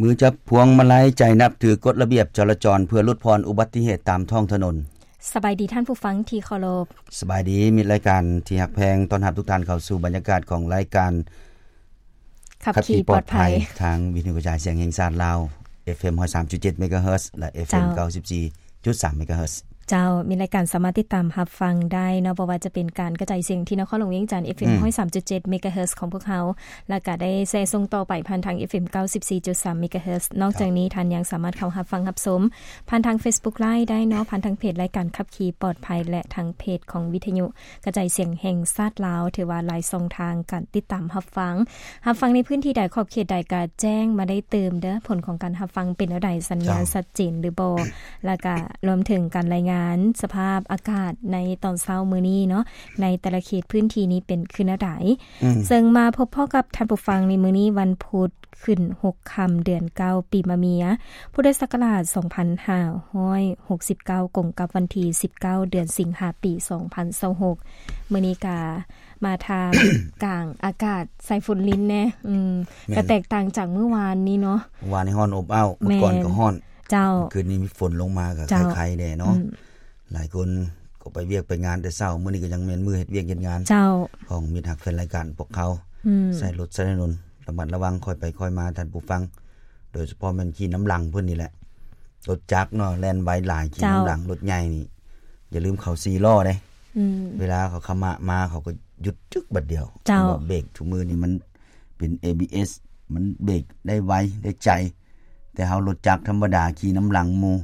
ມືຈັບພວງມາໄລ ໃຈນັບຖືກົດລະບຽບຈະລາຈອນ ເພື່ອຫຼຸດຜ່ອນອຸບັດຕິເຫດຕາມທ້ອງຖະໜົນ. ສະບາຍດີທ່ານຜູ້ຟັງທີ່ເຄົາລົບ. ສະບາຍດີມິດລາຍການທີ່ຮັກແພງ. ຕ້ອນຮັບທຸກທ່ານເຂົ້າສູ່ບັນຍາກາດຂອງລາຍການ ຂັບຂີ່ປອດໄພ ຂັບຂີ່ປອດໄພ ທາງວິທະຍຸກະຈາຍສຽງແຫ່ງຊາດລາວ ເອັຟເອັມຮ້ອຍສາມຈຸດເຈັດເມກາເຮີດ ແລະ ເອັຟເອັມ ເກົ້າສິບສີ່ຈຸດສາມເມກາເຮີດ. ເຈົ້າ ມີລາຍການສາມາດຕິດຕາມຮັບຟັງໄດ້ເນາະ ບໍ່ວ່າຈະເປັນການກະຈາຍສຽງທີ່ນະຄອນຫຼວງວຽງຈັນ ເອັຟເອັມ ອືມ ຮ້ອຍສາມຈຸດເຈັດເມກາເຮີດຂອງພວກເຮົາ ແລ້ວກະໄດ້ແຊສົ່ງຕໍ່ໄປຜ່ານທາງ ເອັຟເອັມ ເກົ້າສິບສີ່ຈຸດສາມເມກາເຮີດ. ນອກຈາກນີ້ ເຈົ້າ ທ່ານຍັງສາມາດເຂົ້າຮັບຟັງຮັບຊົມຜ່ານທາງເຟສບຸກໄລຟ໌ໄດ້ເນາະ ຜ່ານທາງເພຈລາຍການຂັບຂີ່ປອດໄພ ແລະ ທາງເພຈຂອງວິທະຍຸກະຈາຍສຽງແຫ່ງຊາດລາວ. ຖືວ່າຫຼາຍຊ່ອງທາງການຕິດຕາມຮັບຟັງ ຮັບຟັງໃນພື້ນທີ່ໃດ ຂອບເຂດໃດກະແຈ້ງມາໄດ້ຕື່ມເດີ້ ຜົນຂອງການຮັບຟັງເປັນແນວໃດ ສັນຍານ ເຈົ້າ ຊັດເຈນຫຼືບໍ່ ແລ້ວກະລວມເຖິງການລາຍງານສະພາບອາກາດໃນຕອນເຊົ້າມື້ນີ້ເນາະ ໃນແຕ່ລະເຂດພື້ນທີ່ນີ້ເປັນຄືແນວໃດ. ອືມ ເຊິ່ງມາພົບພໍ້ກັບທ່ານຜູ້ຟັງໃນມື້ນີ້ ວັນພຸດ ຂຶ້ນຫົກຄ່ຳ ເດືອນເກົ້າ ປີມະເມຍ ພຸດທະສັກກະລາດ ສອງພັນຫ້າຮ້ອຍຫົກສິບເກົ້າ ກົງກັບວັນທີ ສິບເກົ້າ ເດືອນສິງຫາ ປີ ສອງພັນຊາວຫົກ. ມື້ນີ້ກະ ມາທ່າມກາງອາກາດໃສ່ຝົນລິນແດ່. ອືມ ແມ່ນ ກະແຕກຕ່າງຈາກມື້ວານນີ້ເນາະ ວານນີ້ຮ້ອນອົບອ້າວ ແມ່ນ ມື້ກ່ອນກໍຮ້ອນ. ເຈົ້າ ຄືນນີ້ມີຝົນລົງມາກໍ ເຈົ້າ ໄຄໆແດ່ເນາະ. ອືມ ຫຼາຍຄົນກໍໄປວຽກໄປງານແຕ່ເຊົ້າ ມື້ນີ້ກໍຍັງແມ່ນມື້ເຮັດວຽກເຮັດງານ ເຈົ້າ ຂອງມິດຮັກແຟນລາຍການພວກເຮົາ. ອືມ ໃຊ້ລົດໃຊ້ຖະໜົນລະມັດລະວັງ ຄ່ອຍໄປຄ່ອຍມາ ທ່ານຜູ້ຟັງ ໂດຍສະເພາະແມ່ນຂີ່ນຳຫຼັງເພິ່ນນີ້ແຫຼະ. ລົດຈັກເນາະ ແລ່ນໄວຫຼາຍ ຂີ່ນຳຫຼັງ ເຈົ້າ ລົດໃຫຍ່ນີ້ ຢ່າລືມເຂົາສີ່ລໍ້ເດ້. ອືມ ເວລາເຂົາຂະມະມາ ເຂົາກໍຢຸດຈຶກບາດດຽວ. ເຈົ້າ ເບຣກທຸກມື້ນີ້ມັນເປັນເອບີເອສ ມັນເບຣກໄດ້ໄວໄດ້ໃຈ ແຕ່ເຮົາລົດຈັກທຳມະດາຂີ່ນຳຫຼັງໝູ່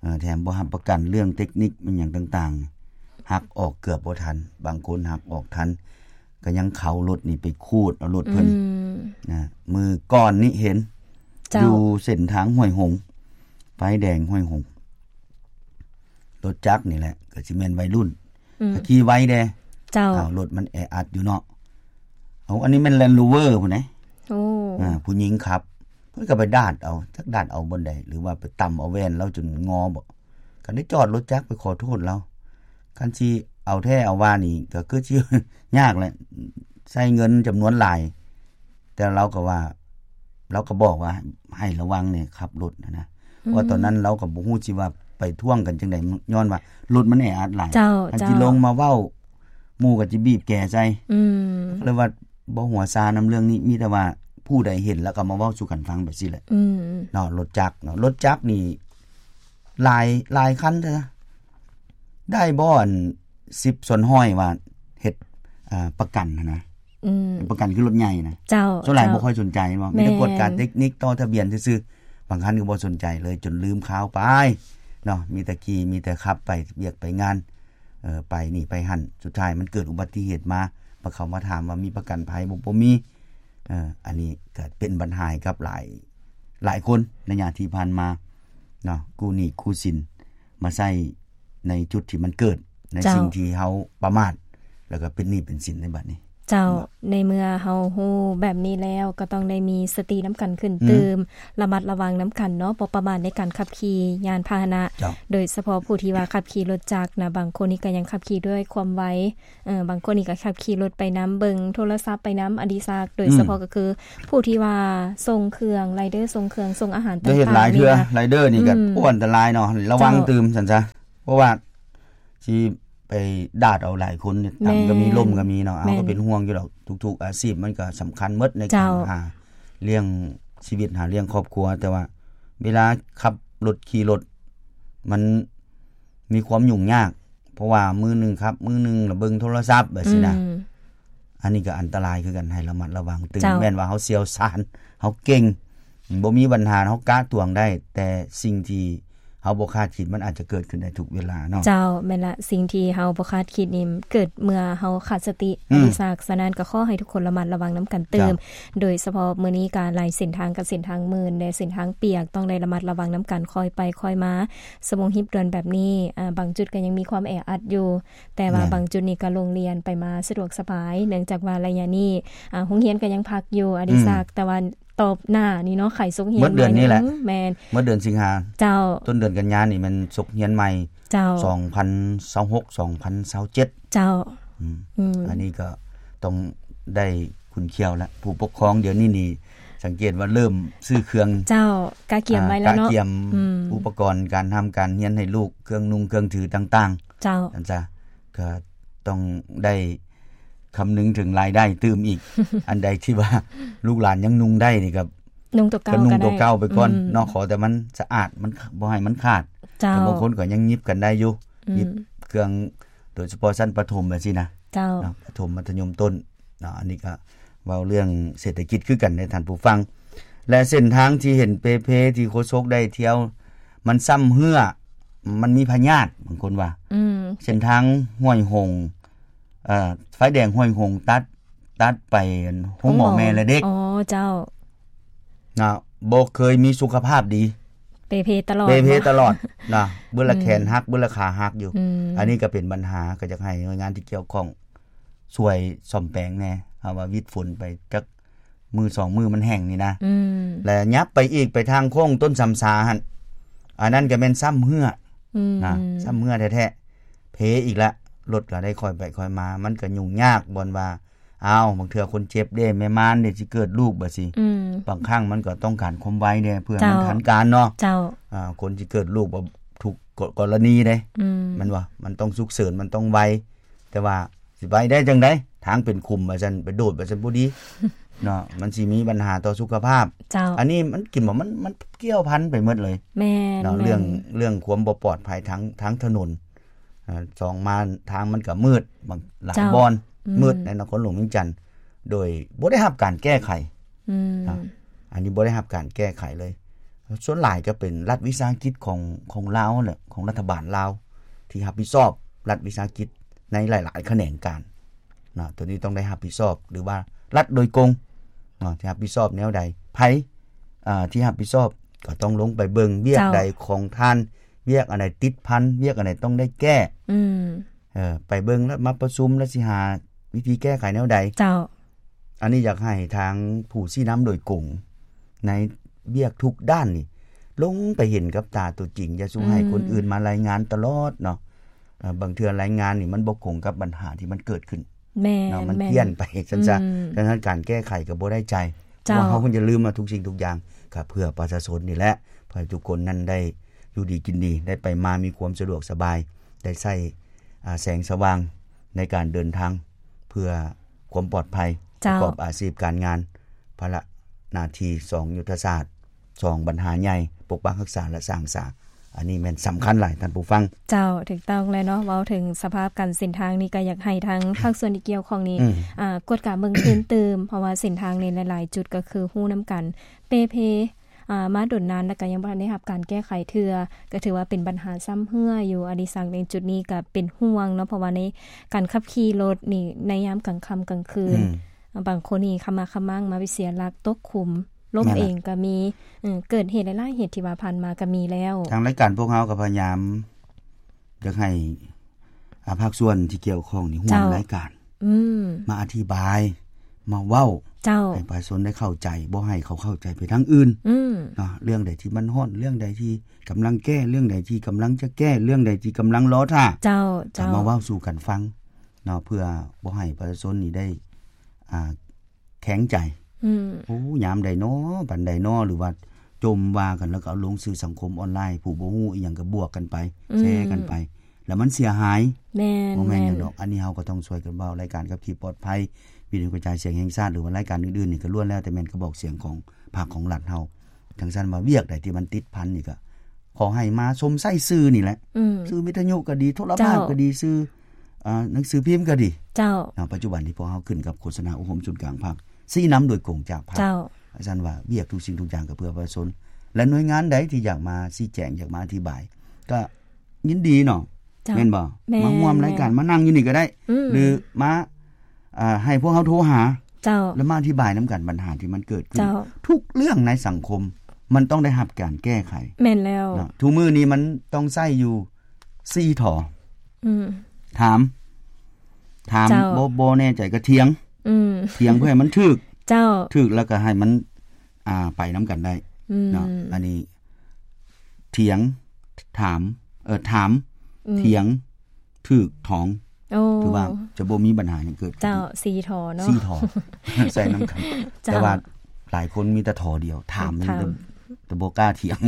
ເອີ ແຖມບໍ່ຮັບປະກັນເລື່ອງເຕັກນິກ ມັນຫຍັງຕ່າງໆ ຫັກອອກເກືອບບໍ່ທັນ. ບາງຄົນຫັກອອກທັນ ກໍຍັງເຂົາລົດນີ້ໄປຂູດເອົາລົດເພິ່ນ ອືມ ນະ. ມື້ກ່ອນນີ້ເຫັນ ເຈົ້າ ຢູ່ເສັ້ນທາງຫ້ວຍຫົງ ໄຟແດງຫ້ວຍຫົງ ລົດຈັກນີ້ແຫຼະ ກໍຊິແມ່ນໄວລຸ້ນ ອືມ ກໍຂີ່ໄວແດ່. ເຈົ້າ ອ້າວ ລົດມັນແອອັດຢູ່ເນາະ. ເອົາ ອັນນີ້ແມ່ນແລນໂຣເວີພຸ້ນເດ້. ໂອ້ ອ່າ ຜູ້ຍິງຂັບ ເພິ່ນກໍໄປດາດເອົາ ຈັກດາດເອົາບ່ອນໃດ ຫຼືວ່າໄປຕຳເອົາແວ່ນລາວຈົນງໍບໍ. ກໍໄດ້ຈອດລົດຈັກໄປຂໍໂທດລາວ. ຄັນຊິເອົາແທ້ເອົາວ່ານີ້ກໍຄືຊິຍາກແຫຼະ ໃຊ້ເງິນຈຳນວນຫຼາຍ ແຕ່ລາວກໍວ່າ ລາວກໍບອກວ່າໃຫ້ລະວັງແດ່ຂັບລົດນະ ອືມ ເພາະວ່າຕອນນັ້ນລາວກໍບໍ່ຮູ້ຊິວ່າໄປທ້ວງກັນຈັ່ງໃດ ຍ້ອນວ່າລົດມັນແອອັດຫຼາຍ. ເຈົ້າ ຄັນຊິ ເຈົ້າ ລົງມາເວົ້າ ໝູ່ກໍຊິບີບແກໃສ່. ອືມ ກໍເລີຍວ່າບໍ່ຫົວຊານຳເລື່ອງນີ້ ມີແຕ່ວ່າຜູ້ໃດເຫັນແລ້ວກໍມາເວົ້າສູ່ກັນຟັງແບບຊີ້ແຫຼະ. ອືມ ເນາະ ລົດຈັກເນາະ ລົດຈັກນີ້ຫຼາຍ ຫຼາຍຄັນເທື່ອ ໄດ້ບໍ່ ອັນ ສິບສ່ວນຮ້ອຍວ່າເຮັດ ອ່າ ປະກັນຫັ້ນນະ. ອືມ ປະກັນຄືລົດໃຫຍ່ນະ. ເຈົ້າ ສ່ວນຫຼາຍ ເຈົ້າ ບໍ່ຄ່ອຍສົນໃຈເນາະ ມີແຕ່ ແມ່ນ ກວດກາເຕັກນິກ ຕໍ່ທະບຽນຊື່ໆ ບາງຄັນກໍບໍ່ສົນໃຈເລີຍ ຈົນລືມຂ່າວໄປເນາະ ມີແຕ່ຂີ່ ມີແຕ່ຂັບໄປວຽກໄປງານ ເອີ ໄປນີ້ໄປຫັ້ນ ສຸດທ້າຍມັນເກີດອຸບັດຕິເຫດມາ ມາເຂົາມາຖາມວ່າມີປະກັນໄພບໍ່ ບໍ່ມີ. ເອີ ອັນນີ້ກໍເປັນບັນຫາໃຫ້ກັບຫຼາຍ ຫຼາຍຄົນໄລຍະທີ່ຜ່ານມາເນາະ ກູ້ໜີ້ກູ້ສິນມາໃຊ້ໃນຈຸດທີ່ມັນເກີດ ໃນ ເຈົ້າ ສິ່ງທີ່ເຮົາປະໝາດ ແລ້ວກໍເປັນໜີ້ເປັນສິນໃນບັດນີ້. ເຈົ້າ ໃນເມື່ອເຮົາຮູ້ແບບນີ້ແລ້ວ ກໍຕ້ອງໄດ້ມີສະຕິນຳກັນຂຶ້ນ ອືມ ຕື່ມ ລະມັດລະວັງນຳກັນເນາະ ບໍ່ປະໝາດໃນການຂັບຂີ່ຍານພາຫະນະ. ເຈົ້າ ໂດຍສະເພາະຜູ້ທີ່ວ່າຂັບຂີ່ລົດຈັກນະ ບາງຄົນນີ້ກໍຍັງຂັບຂີ່ດ້ວຍຄວາມໄວ ເອີ ບາງຄົນນີ້ກໍຂັບຂີ່ລົດໄປນຳ ເບິ່ງໂທລະສັບໄປນຳ ອະດິສັກ ໂດຍ ອືມ ສະເພາະກໍຄືຜູ້ທີ່ວ່າສົ່ງເຄື່ອງ ໄລເດີສົ່ງເຄື່ອງ ສົ່ງອາຫານຕ່າງໆ ໄດ້ເຮັດຫຼາຍເທື່ອ ນີ້ນະ ໄລເດີນີ້ກໍ ອືມ ໂອ້ ອັນຕະລາຍເນາະ ລະວັງ ເຈົ້າ ຕື່ມຊັ້ນຊະ ເພາະວ່າຊິ ໄປດາດເອົາຫຼາຍຄົນ ແມ່ນ ຕ່ຳກໍມີ ລົ້ມກໍມີເນາະ. ເຮົາກໍ ແມ່ນ ເປັນຫ່ວງຢູ່ດອກ ທຸກໆອາຊີບມັນກໍສຳຄັນໝົດໃນການ ເຈົ້າ ຫາລ້ຽງຊີວິດ ຫາລ້ຽງຄອບຄົວ ແຕ່ວ່າເວລາຂັບລົດຂີ່ລົດ ມັນມີຄວາມຫຍຸ້ງຍາກ ເພາະວ່າມື້ໜຶ່ງຂັບ ມື້ໜຶ່ງລະເບິ່ງໂທລະສັບແບບຊີ້ນະ. ອືມ ອັນນີ້ກໍອັນຕະລາຍຄືກັນ ໃຫ້ລະມັດລະວັງຕື່ມ. ເຈົ້າ ແມ່ນວ່າເຮົາຊ່ຽວຊານ ເຮົາເກັ່ງ ບໍ່ມີບັນຫາ ເຮົາກະຕວງໄດ້ ແຕ່ສິ່ງທີ່ເຮົາບໍ່ຄາດຄິດ ມັນອາດຈະເກີດຂຶ້ນໄດ້ທຸກເວລາເນາະ. ເຈົ້າ ແມ່ນລະ ສິ່ງທີ່ເຮົາບໍ່ຄາດຄິດນີ້ເກີດເມື່ອເຮົາຂາດສະຕິ ອືມ ອະດິສັກ. ສະນັ້ນກໍຂໍໃຫ້ທຸກຄົນລະມັດລະວັງນຳກັນຕື່ມ. ເຈົ້າ ໂດຍສະເພາະມື້ນີ້ກໍຫຼາຍເສັ້ນທາງກໍເສັ້ນທາງມື່ນ ແລະ ເສັ້ນທາງປຽກ ຕ້ອງໄດ້ລະມັດລະວັງນຳກັນ ຄ່ອຍໄປຄ່ອຍມາ. ຊົ່ວໂມງຮີບດ່ວນແບບນີ້ ອາ ບາງຈຸດກໍຍັງມີຄວາມແອອັດຢູ່ ແຕ່ວ່າ ແມ່ນ ບາງຈຸດນີ້ກໍໂລ່ງລຽນ ໄປມາສະດວກສະບາຍ ເນື່ອງຈາກວ່າໄລຍະນີ້ ອາ ໂຮງຮຽນກໍຍັງພັກຢູ່ ອະດິສັກ ອືມ ແຕ່ວ່າຕອບໜ້ານີ້ເນາະ ໄຂສົກຮຽນ ໝົດເດືອນນີ້ແຫຼະ ແມ່ນ ໝົດເດືອນສິງຫາ ເຈົ້າ ຕົ້ນເດືອນກັນຍານີ້ແມ່ນສົກຮຽນໃໝ່ ເຈົ້າ ສອງພັນຊາວຫົກ ສອງພັນຊາວເຈັດ ເຈົ້າ ອືມ ອືມ ອັນນີ້ກໍຕ້ອງໄດ້ຂຸນຂຽວລະ ຜູ້ປົກຄອງດຽວນີ້ນີ້ ສັງເກດວ່າເລີ່ມຊື້ເຄື່ອງ ເຈົ້າ ກະກຽມໄວ້ແລ້ວເນາະ ກະກຽມ ອືມ ອຸປະກອນການຮ່ຳການຮຽນໃຫ້ລູກ ເຄື່ອງນຸ່ງເຄື່ອງຖືຕ່າງໆ ເຈົ້າ ອັນຊະ ກະຕ້ອງໄດ້ຄຳນຶງເຖິງລາຍໄດ້ຕື່ມອີກ ອັນໃດທີ່ວ່າລູກຫຼານຍັງນຸ່ງໄດ້ນີ້ກະນຸ່ງຕົວເກົ່າ ກະນຸ່ງຕົວເກົ່າໄປກ່ອນ ອືມ ເນາະ ຂໍແຕ່ມັນສະອາດ ມັນ ບໍ່ໃຫ້ມັນຂາດ ເຈົ້າ ແຕ່ບາງຄົນກະຍັງຫຍິບກັນໄດ້ຢູ່ ອືມ ຫຍິບເຄື່ອງ ໂດຍສະເພາະຊັ້ນປະຖົມແບບຊີ້ນະ ເຈົ້າ ເນາະ ປະຖົມ ມັດທະຍົມຕົ້ນ ເນາະ ອັນນີ້ກະເວົ້າເລື່ອງເສດຖະກິດຄືກັນເດ້ທ່ານຜູ້ຟັງ ແລະ ເສັ້ນທາງທີ່ເຫັນເປເພທີ່ໂຄສົກໄດ້ທ່ຽວ ມັນຊ້ຳເຮື້ອ ມັນມີພະຍາດ ບາງຄົນວ່າ ອືມ ເສັ້ນທາງຫ້ວຍຫົງ ເອີ ໄຟແດງຫ້ວຍຫົງ ຕັດ ຕັດໄປໂຮງໝໍແມ່ແລະເດັກ ໂຮງໝໍ ອໍ ເຈົ້າ ນະ ບໍ່ເຄີຍມີສຸຂະພາບດີ ເປເພຕະຫຼອດ ເປເພຕະຫຼອດ ເນາະ ເບິດລະແຂນຫັກ ອືມ ເບິດລະຂາຫັກຢູ່ ອືມ ອັນນີ້ກະເປັນບັນຫາ ກະຢາກໃຫ້ໜ່ວຍງານທີ່ກ່ຽວຂ້ອງຊ່ວຍສ້ອມແປງແດ່ ເພາະວ່າວິດຝົນໄປຈັກມື້ສອງມື້ມັນແຫ້ງນີ້ນະ ອືມ ແລະ ຫຍັບໄປອີກໄປທາງໂຄ້ງຕົ້ນສຳສາຫັ້ນ ອັນນັ້ນກະແມ່ນຊ້ຳເຮື້ອ ອືມ ນະ ຊ້ຳເຮື້ອແທ້ໆ ເພອີກລະ ລົດກະໄດ້ຄ່ອຍໄປຄ່ອຍມາ ມັນກະຫຍຸ້ງຍາກບ່ອນວ່າ ອ້າວ ບາງເທື່ອຄົນເຈັບເດ້ ແມ່ມານເດ້ ຊິເກີດລູກບາດຊິ ອືມ ບາງຄັ້ງມັນກໍຕ້ອງການຄວາມໄວແດ່ ເພື່ອໃຫ້ມັນ ເຈົ້າ ທັນການເນາະ ເຈົ້າ ອາ ຄົນຊິເກີດລູກ ບໍ່ ທຸກກໍ ກໍລະນີເດ້ ອືມ ແມ່ນບໍ່? ມັນຕ້ອງສຸກເສີນ ມັນຕ້ອງໄວ ແຕ່ວ່າຊິໄວໄດ້ຈັ່ງໃດ? ທາງເປັນຂຸມວ່າຊັ້ນ ໄປໂດດວ່າຊັ້ນ ບໍ່ດີເນາະ ມັນຊິມີບັນຫາຕໍ່ສຸຂະພາບ ເຈົ້າ ອັນນີ້ມັນກິນບໍ່ ມັນ ມັນກ່ຽວພັນໄປໝົດເລີຍ ແມ່ນ ເນາະ ແມ່ນ ເລື່ອງ ເລື່ອງຄວາມບໍ່ປອດໄພທາງ ທາງຖະໜົນ ອາ ສອງມາທາງມັນກະມືດ ບາງ ຫຼາຍ ເຈົ້າ ບ່ອນ ອືມ ມືດໃນນະຄອນຫຼວງວຽງຈັນ ໂດຍບໍ່ໄດ້ຮັບການແກ້ໄຂ ອືມ ນະ ອັນນີ້ບໍ່ໄດ້ຮັບການແກ້ໄຂເລີຍ ສ່ວນຫຼາຍກະເປັນລັດວິສາຫະກິດຂອງ ຂອງລາວແຫຼະ ຂອງລັດຖະບານລາວ ທີ່ຮັບຜິດຊອບລັດວິສາຫະກິດໃນຫຼາຍໆຂະແໜງການ ນະ ໂຕນີ້ຕ້ອງໄດ້ຮັບຜິດຊອບ ຫຼືວ່າລັດໂດຍກົງ ນະ ທີ່ຮັບຜິດຊອບແນວໃດ ໃຜ ອາ ທີ່ຮັບຜິດຊອບ ກະຕ້ອງລົງໄປເບິ່ງວຽກ ເຈົ້າ ໃດຂອງທ່ານ ວຽກອັນໃດຕິດພັນ ວຽກອັນໃດຕ້ອງໄດ້ແກ້ ອືມ ເອີ ໄປເບິ່ງລະມາປະຊຸມລະຊິຫາວິທີແກ້ໄຂແນວໃດ ເຈົ້າ ອັນນີ້ຢາກໃຫ້ທາງຜູ້ຊີ້ນຳໂດຍກົງ ໃນວຽກທຸກດ້ານນີ້ ລົງໄປເຫັນກັບຕາຕົວຈິງ ຢ່າສູ່ໃຫ້ ອືມ ຄົນອື່ນມາລາຍງານຕະຫຼອດເນາະ ເອີ ບາງເທື່ອລາຍງານນີ້ມັນບໍ່ກົງກັບບັນຫາທີ່ມັນເກີດຂຶ້ນ ແມ່ນ ເນາະ ມັນ ແມ່ນ ປ່ຽນໄປຊັ້ນຊະ ອືມ ສະນັ້ນການແກ້ໄຂກໍບໍ່ໄດ້ໃຈ ເຈົ້າ ເພາະວ່າເຮົາກໍຢ່າລືມວ່າທຸກສິ່ງທຸກຢ່າງກໍເພື່ອປະຊາຊົນນີ້ແຫຼະ ເພື່ອໃຫ້ທຸກຄົນນັ້ນໄດ້ຢູ່ດີກິນດີ ໄດ້ໄປມາມີຄວາມສະດວກສະບາຍ ໄດ້ໃຊ້ ອາ ແສງສະຫວ່າງໃນການເດີນທາງ ເພື່ອຄວາມປອດໄພ ເຈົ້າ ປະກອບອາຊີບການງານ ພາລະໜ້າທີ່ ສອງ ຍຸດທະສາດ ສອງ ບັນຫາໃຫຍ່ ປົກປັກຮັກສາ ແລະ ສ້າງສາ ອັນນີ້ແມ່ນສຳຄັນຫຼາຍທ່ານຜູ້ຟັງ ເຈົ້າ ຖືກຕ້ອງແລ້ວເນາະ ເວົ້າເຖິງສະພາບການເສັ້ນທາງນີ້ ກະຢາກໃຫ້ທາງພາກສ່ວນທີ່ກ່ຽວຂ້ອງນີ້ ອືມ ອາ ກວດກາເບິ່ງຄືນຕື່ມ ເພາະວ່າເສັ້ນທາງນີ້ຫຼາຍໆຈຸດກະຄືຮູ້ນຳກັນ ເປເພ ອາ ມາດົນນານ ແລ້ວກະຍັງບໍ່ທັນໄດ້ຮັບການແກ້ໄຂເທື່ອ ກະຖືວ່າເປັນບັນຫາຊ້ຳເຮື້ອຢູ່ ອະດິສັກ ໃນຈຸດນີ້ກະເປັນຫ່ວງເນາະ ເພາະວ່າໃນການຂັບຂີ່ລົດນີ້ ໃນຍາມກາງຄ່ຳກາງຄືນ ອືມ ບາງຄົນນີ້ຂະໝາກຂະມັງມາໄປເສຍຫຼັກຕົກຂຸມ ລົ້ມເອງກະມີ ເອີ ເກີດເຫດຫຼາຍໆເຫດທີ່ວ່າຜ່ານມາກະມີແລ້ວ ທາງລາຍການພວກເຮົາກະພະຍາຍາມຢາກໃຫ້ ອາ ພາກສ່ວນທີ່ກ່ຽວຂ້ອງນີ້ຮ່ວມ ເຈົ້າ ລາຍການ ອືມ ມາອະທິບາຍ ມາເວົ້າ ເຈົ້າ ໃຫ້ປະຊາຊົນໄດ້ເຂົ້າໃຈ ບໍ່ໃຫ້ເຂົາເຂົ້າໃຈໄປທາງອື່ນ ອືມ ເນາະ ເລື່ອງໃດທີ່ມັນຮ້ອນ ເລື່ອງໃດທີ່ກຳລັງແກ້ ເລື່ອງໃດທີ່ກຳລັງຈະແກ້ ເລື່ອງໃດທີ່ກຳລັງລໍຖ້າ ເຈົ້າ ເຈົ້າ ມາເວົ້າສູ່ກັນຟັງເນາະ ເພື່ອບໍ່ໃຫ້ປະຊາຊົນນີ້ໄດ້ ອາ ແຂງໃຈ ອືມ ໂອ້ ຍາມໃດນໍ ປານໃດນໍ ຫຼືວ່າຈົ່ມວ່າກັນ ແລ້ວກໍເອົາລົງສື່ສັງຄົມອອນລາຍ ຜູ້ບໍ່ຮູ້ອີ່ຫຍັງກໍບວກກັນໄປ ອືມ ແຊກັນໄປ ແລ້ວມັນເສຍຫາຍ ແມ່ນ ບໍ່ແມ່ນຫຍັງດອກ ແມ່ນ ອັນນີ້ເຮົາກໍຕ້ອງຊ່ວຍກັນເວົ້າ ລາຍການຂັບຂີ່ປອດໄພ ວິທຍຸກະຈາຍສຽງແຫ່ງຊາດ ຫຼືວ່າລາຍການອື່ນໆນີ້ ກໍລ້ວນແລ້ວແຕ່ແມ່ນກະບອກສຽງຂອງພັກຂອງລັດເຮົາ ຈັ່ງຊັ້ນວ່າວຽກໃດທີ່ມັນຕິດພັນນີ້ ກໍຂໍໃຫ້ມາຊົມໃຊ້ສື່ນີ້ແຫຼະ ອືມ ສື່ວິທະຍຸກໍດີ ໂທລະພາບ ເຈົ້າ ກໍດີ ສື່ ອາ ໜັງສືພິມກໍດີ ເຈົ້າ ເນາະ ປັດຈຸບັນທີ່ພວກເຮົາຂຶ້ນກັບໂຄສະນາອົບຮົມສູນກາງພັກ ຊີ້ນຳໂດຍກົງຈາກພັກ ເຈົ້າ ຊັ້ນວ່າວຽກທຸກສິ່ງທຸກຢ່າງກໍເພື່ອປະຊາຊົນ ແລະ ໜ່ວຍງານໃດທີ່ຢາກມາຊີ້ແຈງ ຢາກມາອະທິບາຍ ກໍຍິນດີເນາະ ເຈົ້າ ແມ່ນບໍ່? ແມ່ນ ມາຮ່ວມລາຍການ ແມ່ນ ມານັ່ງຢູ່ນີ້ກໍໄດ້ ອືມ ຫຼືມາ ອາ ໃຫ້ພວກເຮົາໂທຫາ ເຈົ້າ ແລ້ວມາອະທິບາຍນຳກັນບັນຫາທີ່ມັນເກີດຂຶ້ນ ເຈົ້າ ທຸກເລື່ອງໃນສັງຄົມມັນຕ້ອງໄດ້ຮັບການແກ້ໄຂ ແມ່ນແລ້ວ ເນາະ ທຸກມື້ນີ້ມັນຕ້ອງໃຊ້ຢູ່ ສີ່ ຖໍ ອືມ ຖາມ ຖາມ ເຈົ້າ ບໍ່ ບໍ່ແນ່ໃຈກໍຖຽງ ອືມ ຖຽງເພື່ອໃຫ້ມັນຖືກ ເຈົ້າ ຖືກແລ້ວກໍໃຫ້ມັນ ອ່າ ໄປນຳກັນໄດ້ ອືມ ເນາະ ອັນນີ້ ຖຽງ ຖາມ ເອີ ຖາມ ອືມ ຖຽງ ຖືກ ຖອງ ໂອ້ ຖືວ່າຈະບໍ່ມີບັນຫາຫຍັງເກີດຂຶ້ນ ເຈົ້າ ສີ່ ຖໍເນາະ ສີ່ ຖໍ ໃຊ້ນຳກັນ ເຈົ້າ ແຕ່ວ່າ ຫຼາຍຄົນມີແຕ່ທໍ່ດຽວ ຖາມ ຖາມ ແຕ່ບໍ່ກ້າຖຽງ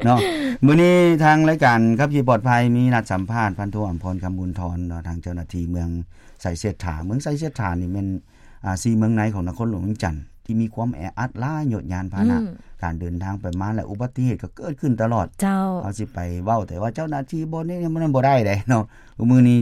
ເນາະ. ມື້ນີ້ທາງລາຍການຂັບຂີ່ປອດໄພ ມີນັດສຳພາດພັນໂທ ອຳພອນ ຄຳບຸນທອນເນາະ ທາງເຈົ້າໜ້າທີ່ເມືອງໄຊເສດຖາ. ເມືອງໄຊເສດຖານີ້ແມ່ນ ອ່າ ສີ່ເມືອງໃນຂອງນະຄອນຫຼວງວຽງຈັນ ທີ່ມີຄວາມແອອັດຫຼາຍ ຍານພາຫະນະ ອືມ ການເດີນທາງໄປມາ ແລະ ອຸບັດຕິເຫດກໍເກີດຂຶ້ນຕະຫຼອດ. ເຈົ້າ ເຮົາຊິໄປເວົ້າແຕ່ວ່າເຈົ້າໜ້າທີ່ບໍ່ນີ້ ມັນບໍ່ໄດ້ເດ້ເນາະ. ມື້ນີ້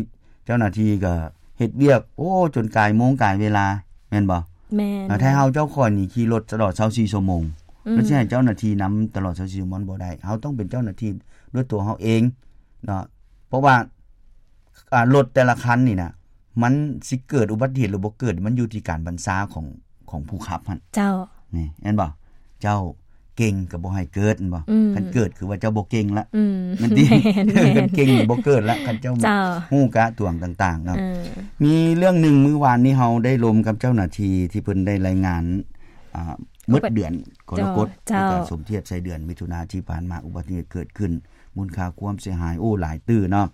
ເຈົ້າໜ້າທີ່ກໍເຮັດວຽກ ໂອ້ ຈົນກາຍໂມງກາຍເວລາ ແມ່ນບໍ່? ແມ່ນ. ຖ້າເຮົາເຈົ້າຂອງນີ້ຂີ່ລົດຕະຫຼອດຊາວສີ່ຊົ່ວໂມງ ອືມ ແລ້ວຊິໃຫ້ເຈົ້າໜ້າທີ່ນຳຕະຫຼອດຊາວສີ່ຊົ່ວໂມງ ມັນບໍ່ໄດ້. ເຮົາຕ້ອງເປັນເຈົ້າໜ້າທີ່ດ້ວຍຕົວເຮົາເອງເນາະ ເພາະວ່າ ອ່າ ລົດແຕ່ລະຄັນນີ້ນະ ມັນຊິເກີດອຸບັດຕິເຫດ ຫຼື ບໍ່ເກີດ ມັນຢູ່ທີ່ການບັນຊາຂອງ ຂອງຜູ້ຂັບຫັ້ນ. ເຈົ້າ ນີ້ ແມ່ນບໍ່? ເຈົ້າເກັ່ງກໍບໍ່ໃຫ້ເກີດ ແມ່ນບໍ່? ອືມ ຄັນເກີດຄືວ່າເຈົ້າບໍ່ເກັ່ງລະ ອືມ ແມ່ນຕິ? ແມ່ນ ແມ່ນ ຄັນເກັ່ງນີ້ບໍ່ເກີດລະ ຄັນເຈົ້າ ເຈົ້າ ຮູ້ກະຕວງຕ່າງໆເນາະ. ເອີ ມີເລື່ອງໜຶ່ງ ມື້ວານນີ້ເຮົາໄດ້ລົມກັບເຈົ້າໜ້າທີ່ ທີ່ເພິ່ນໄດ້ລາຍງານ ອ່າ ໝົດເດືອນກໍລະກົດ ເຈົ້າ ເຈົ້າ ແລ້ວກໍສົມທຽບໃສ່ເດືອນມິຖຸນາທີ່ຜ່ານມາ ອຸບັດຕິເຫດເກີດຂຶ້ນ ມູນຄ່າຄວາມເສຍຫາຍ ໂອ້ ຫຼາຍຕື້ເນາະ.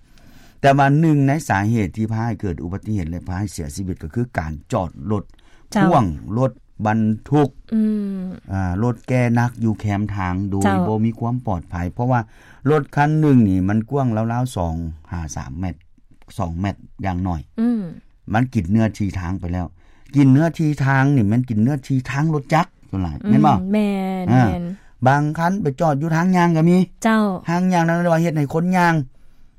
ແຕ່ວ່າໜຶ່ງໃນສາເຫດທີ່ພາໃຫ້ເກີດອຸບັດຕິເຫດ ແລະ ພາໃຫ້ເສຍຊີວິດ ກໍຄືການຈອດລົດ ເຈົ້າ ພໍ່ວງລົດບັນທຸກ ອືມ ອ່າ ລົດແກ່ໜັກຢູ່ແຄມທາງ ໂດຍ ເຈົ້າ ບໍ່ມີຄວາມປອດໄພ ເພາະວ່າລົດຄັນໜຶ່ງນີ້ມັນກວ້າງລາວໆ ສອງຫາສາມແມັດ ສອງແມັດຢ່າງໜ້ອຍ ອືມ ມັນກິນເນື້ອທີ່ທາງໄປແລ້ວ. ກິນເນື້ອທີ່ທາງນີ້ແມ່ນກິນເນື້ອທີ່ທາງລົດຈັກສ່ວນຫຼາຍ ອືມ ແມ່ນບໍ່? ແມ່ນ ອ່າ ແມ່ນ. ບາງຄັນໄປຈອດຢູ່ທາງຍ່າງກໍມີ ເຈົ້າ ທາງຍ່າງນັ້ນເອີ້ນວ່າເຮັດໃຫ້ຄົນຍ່າງ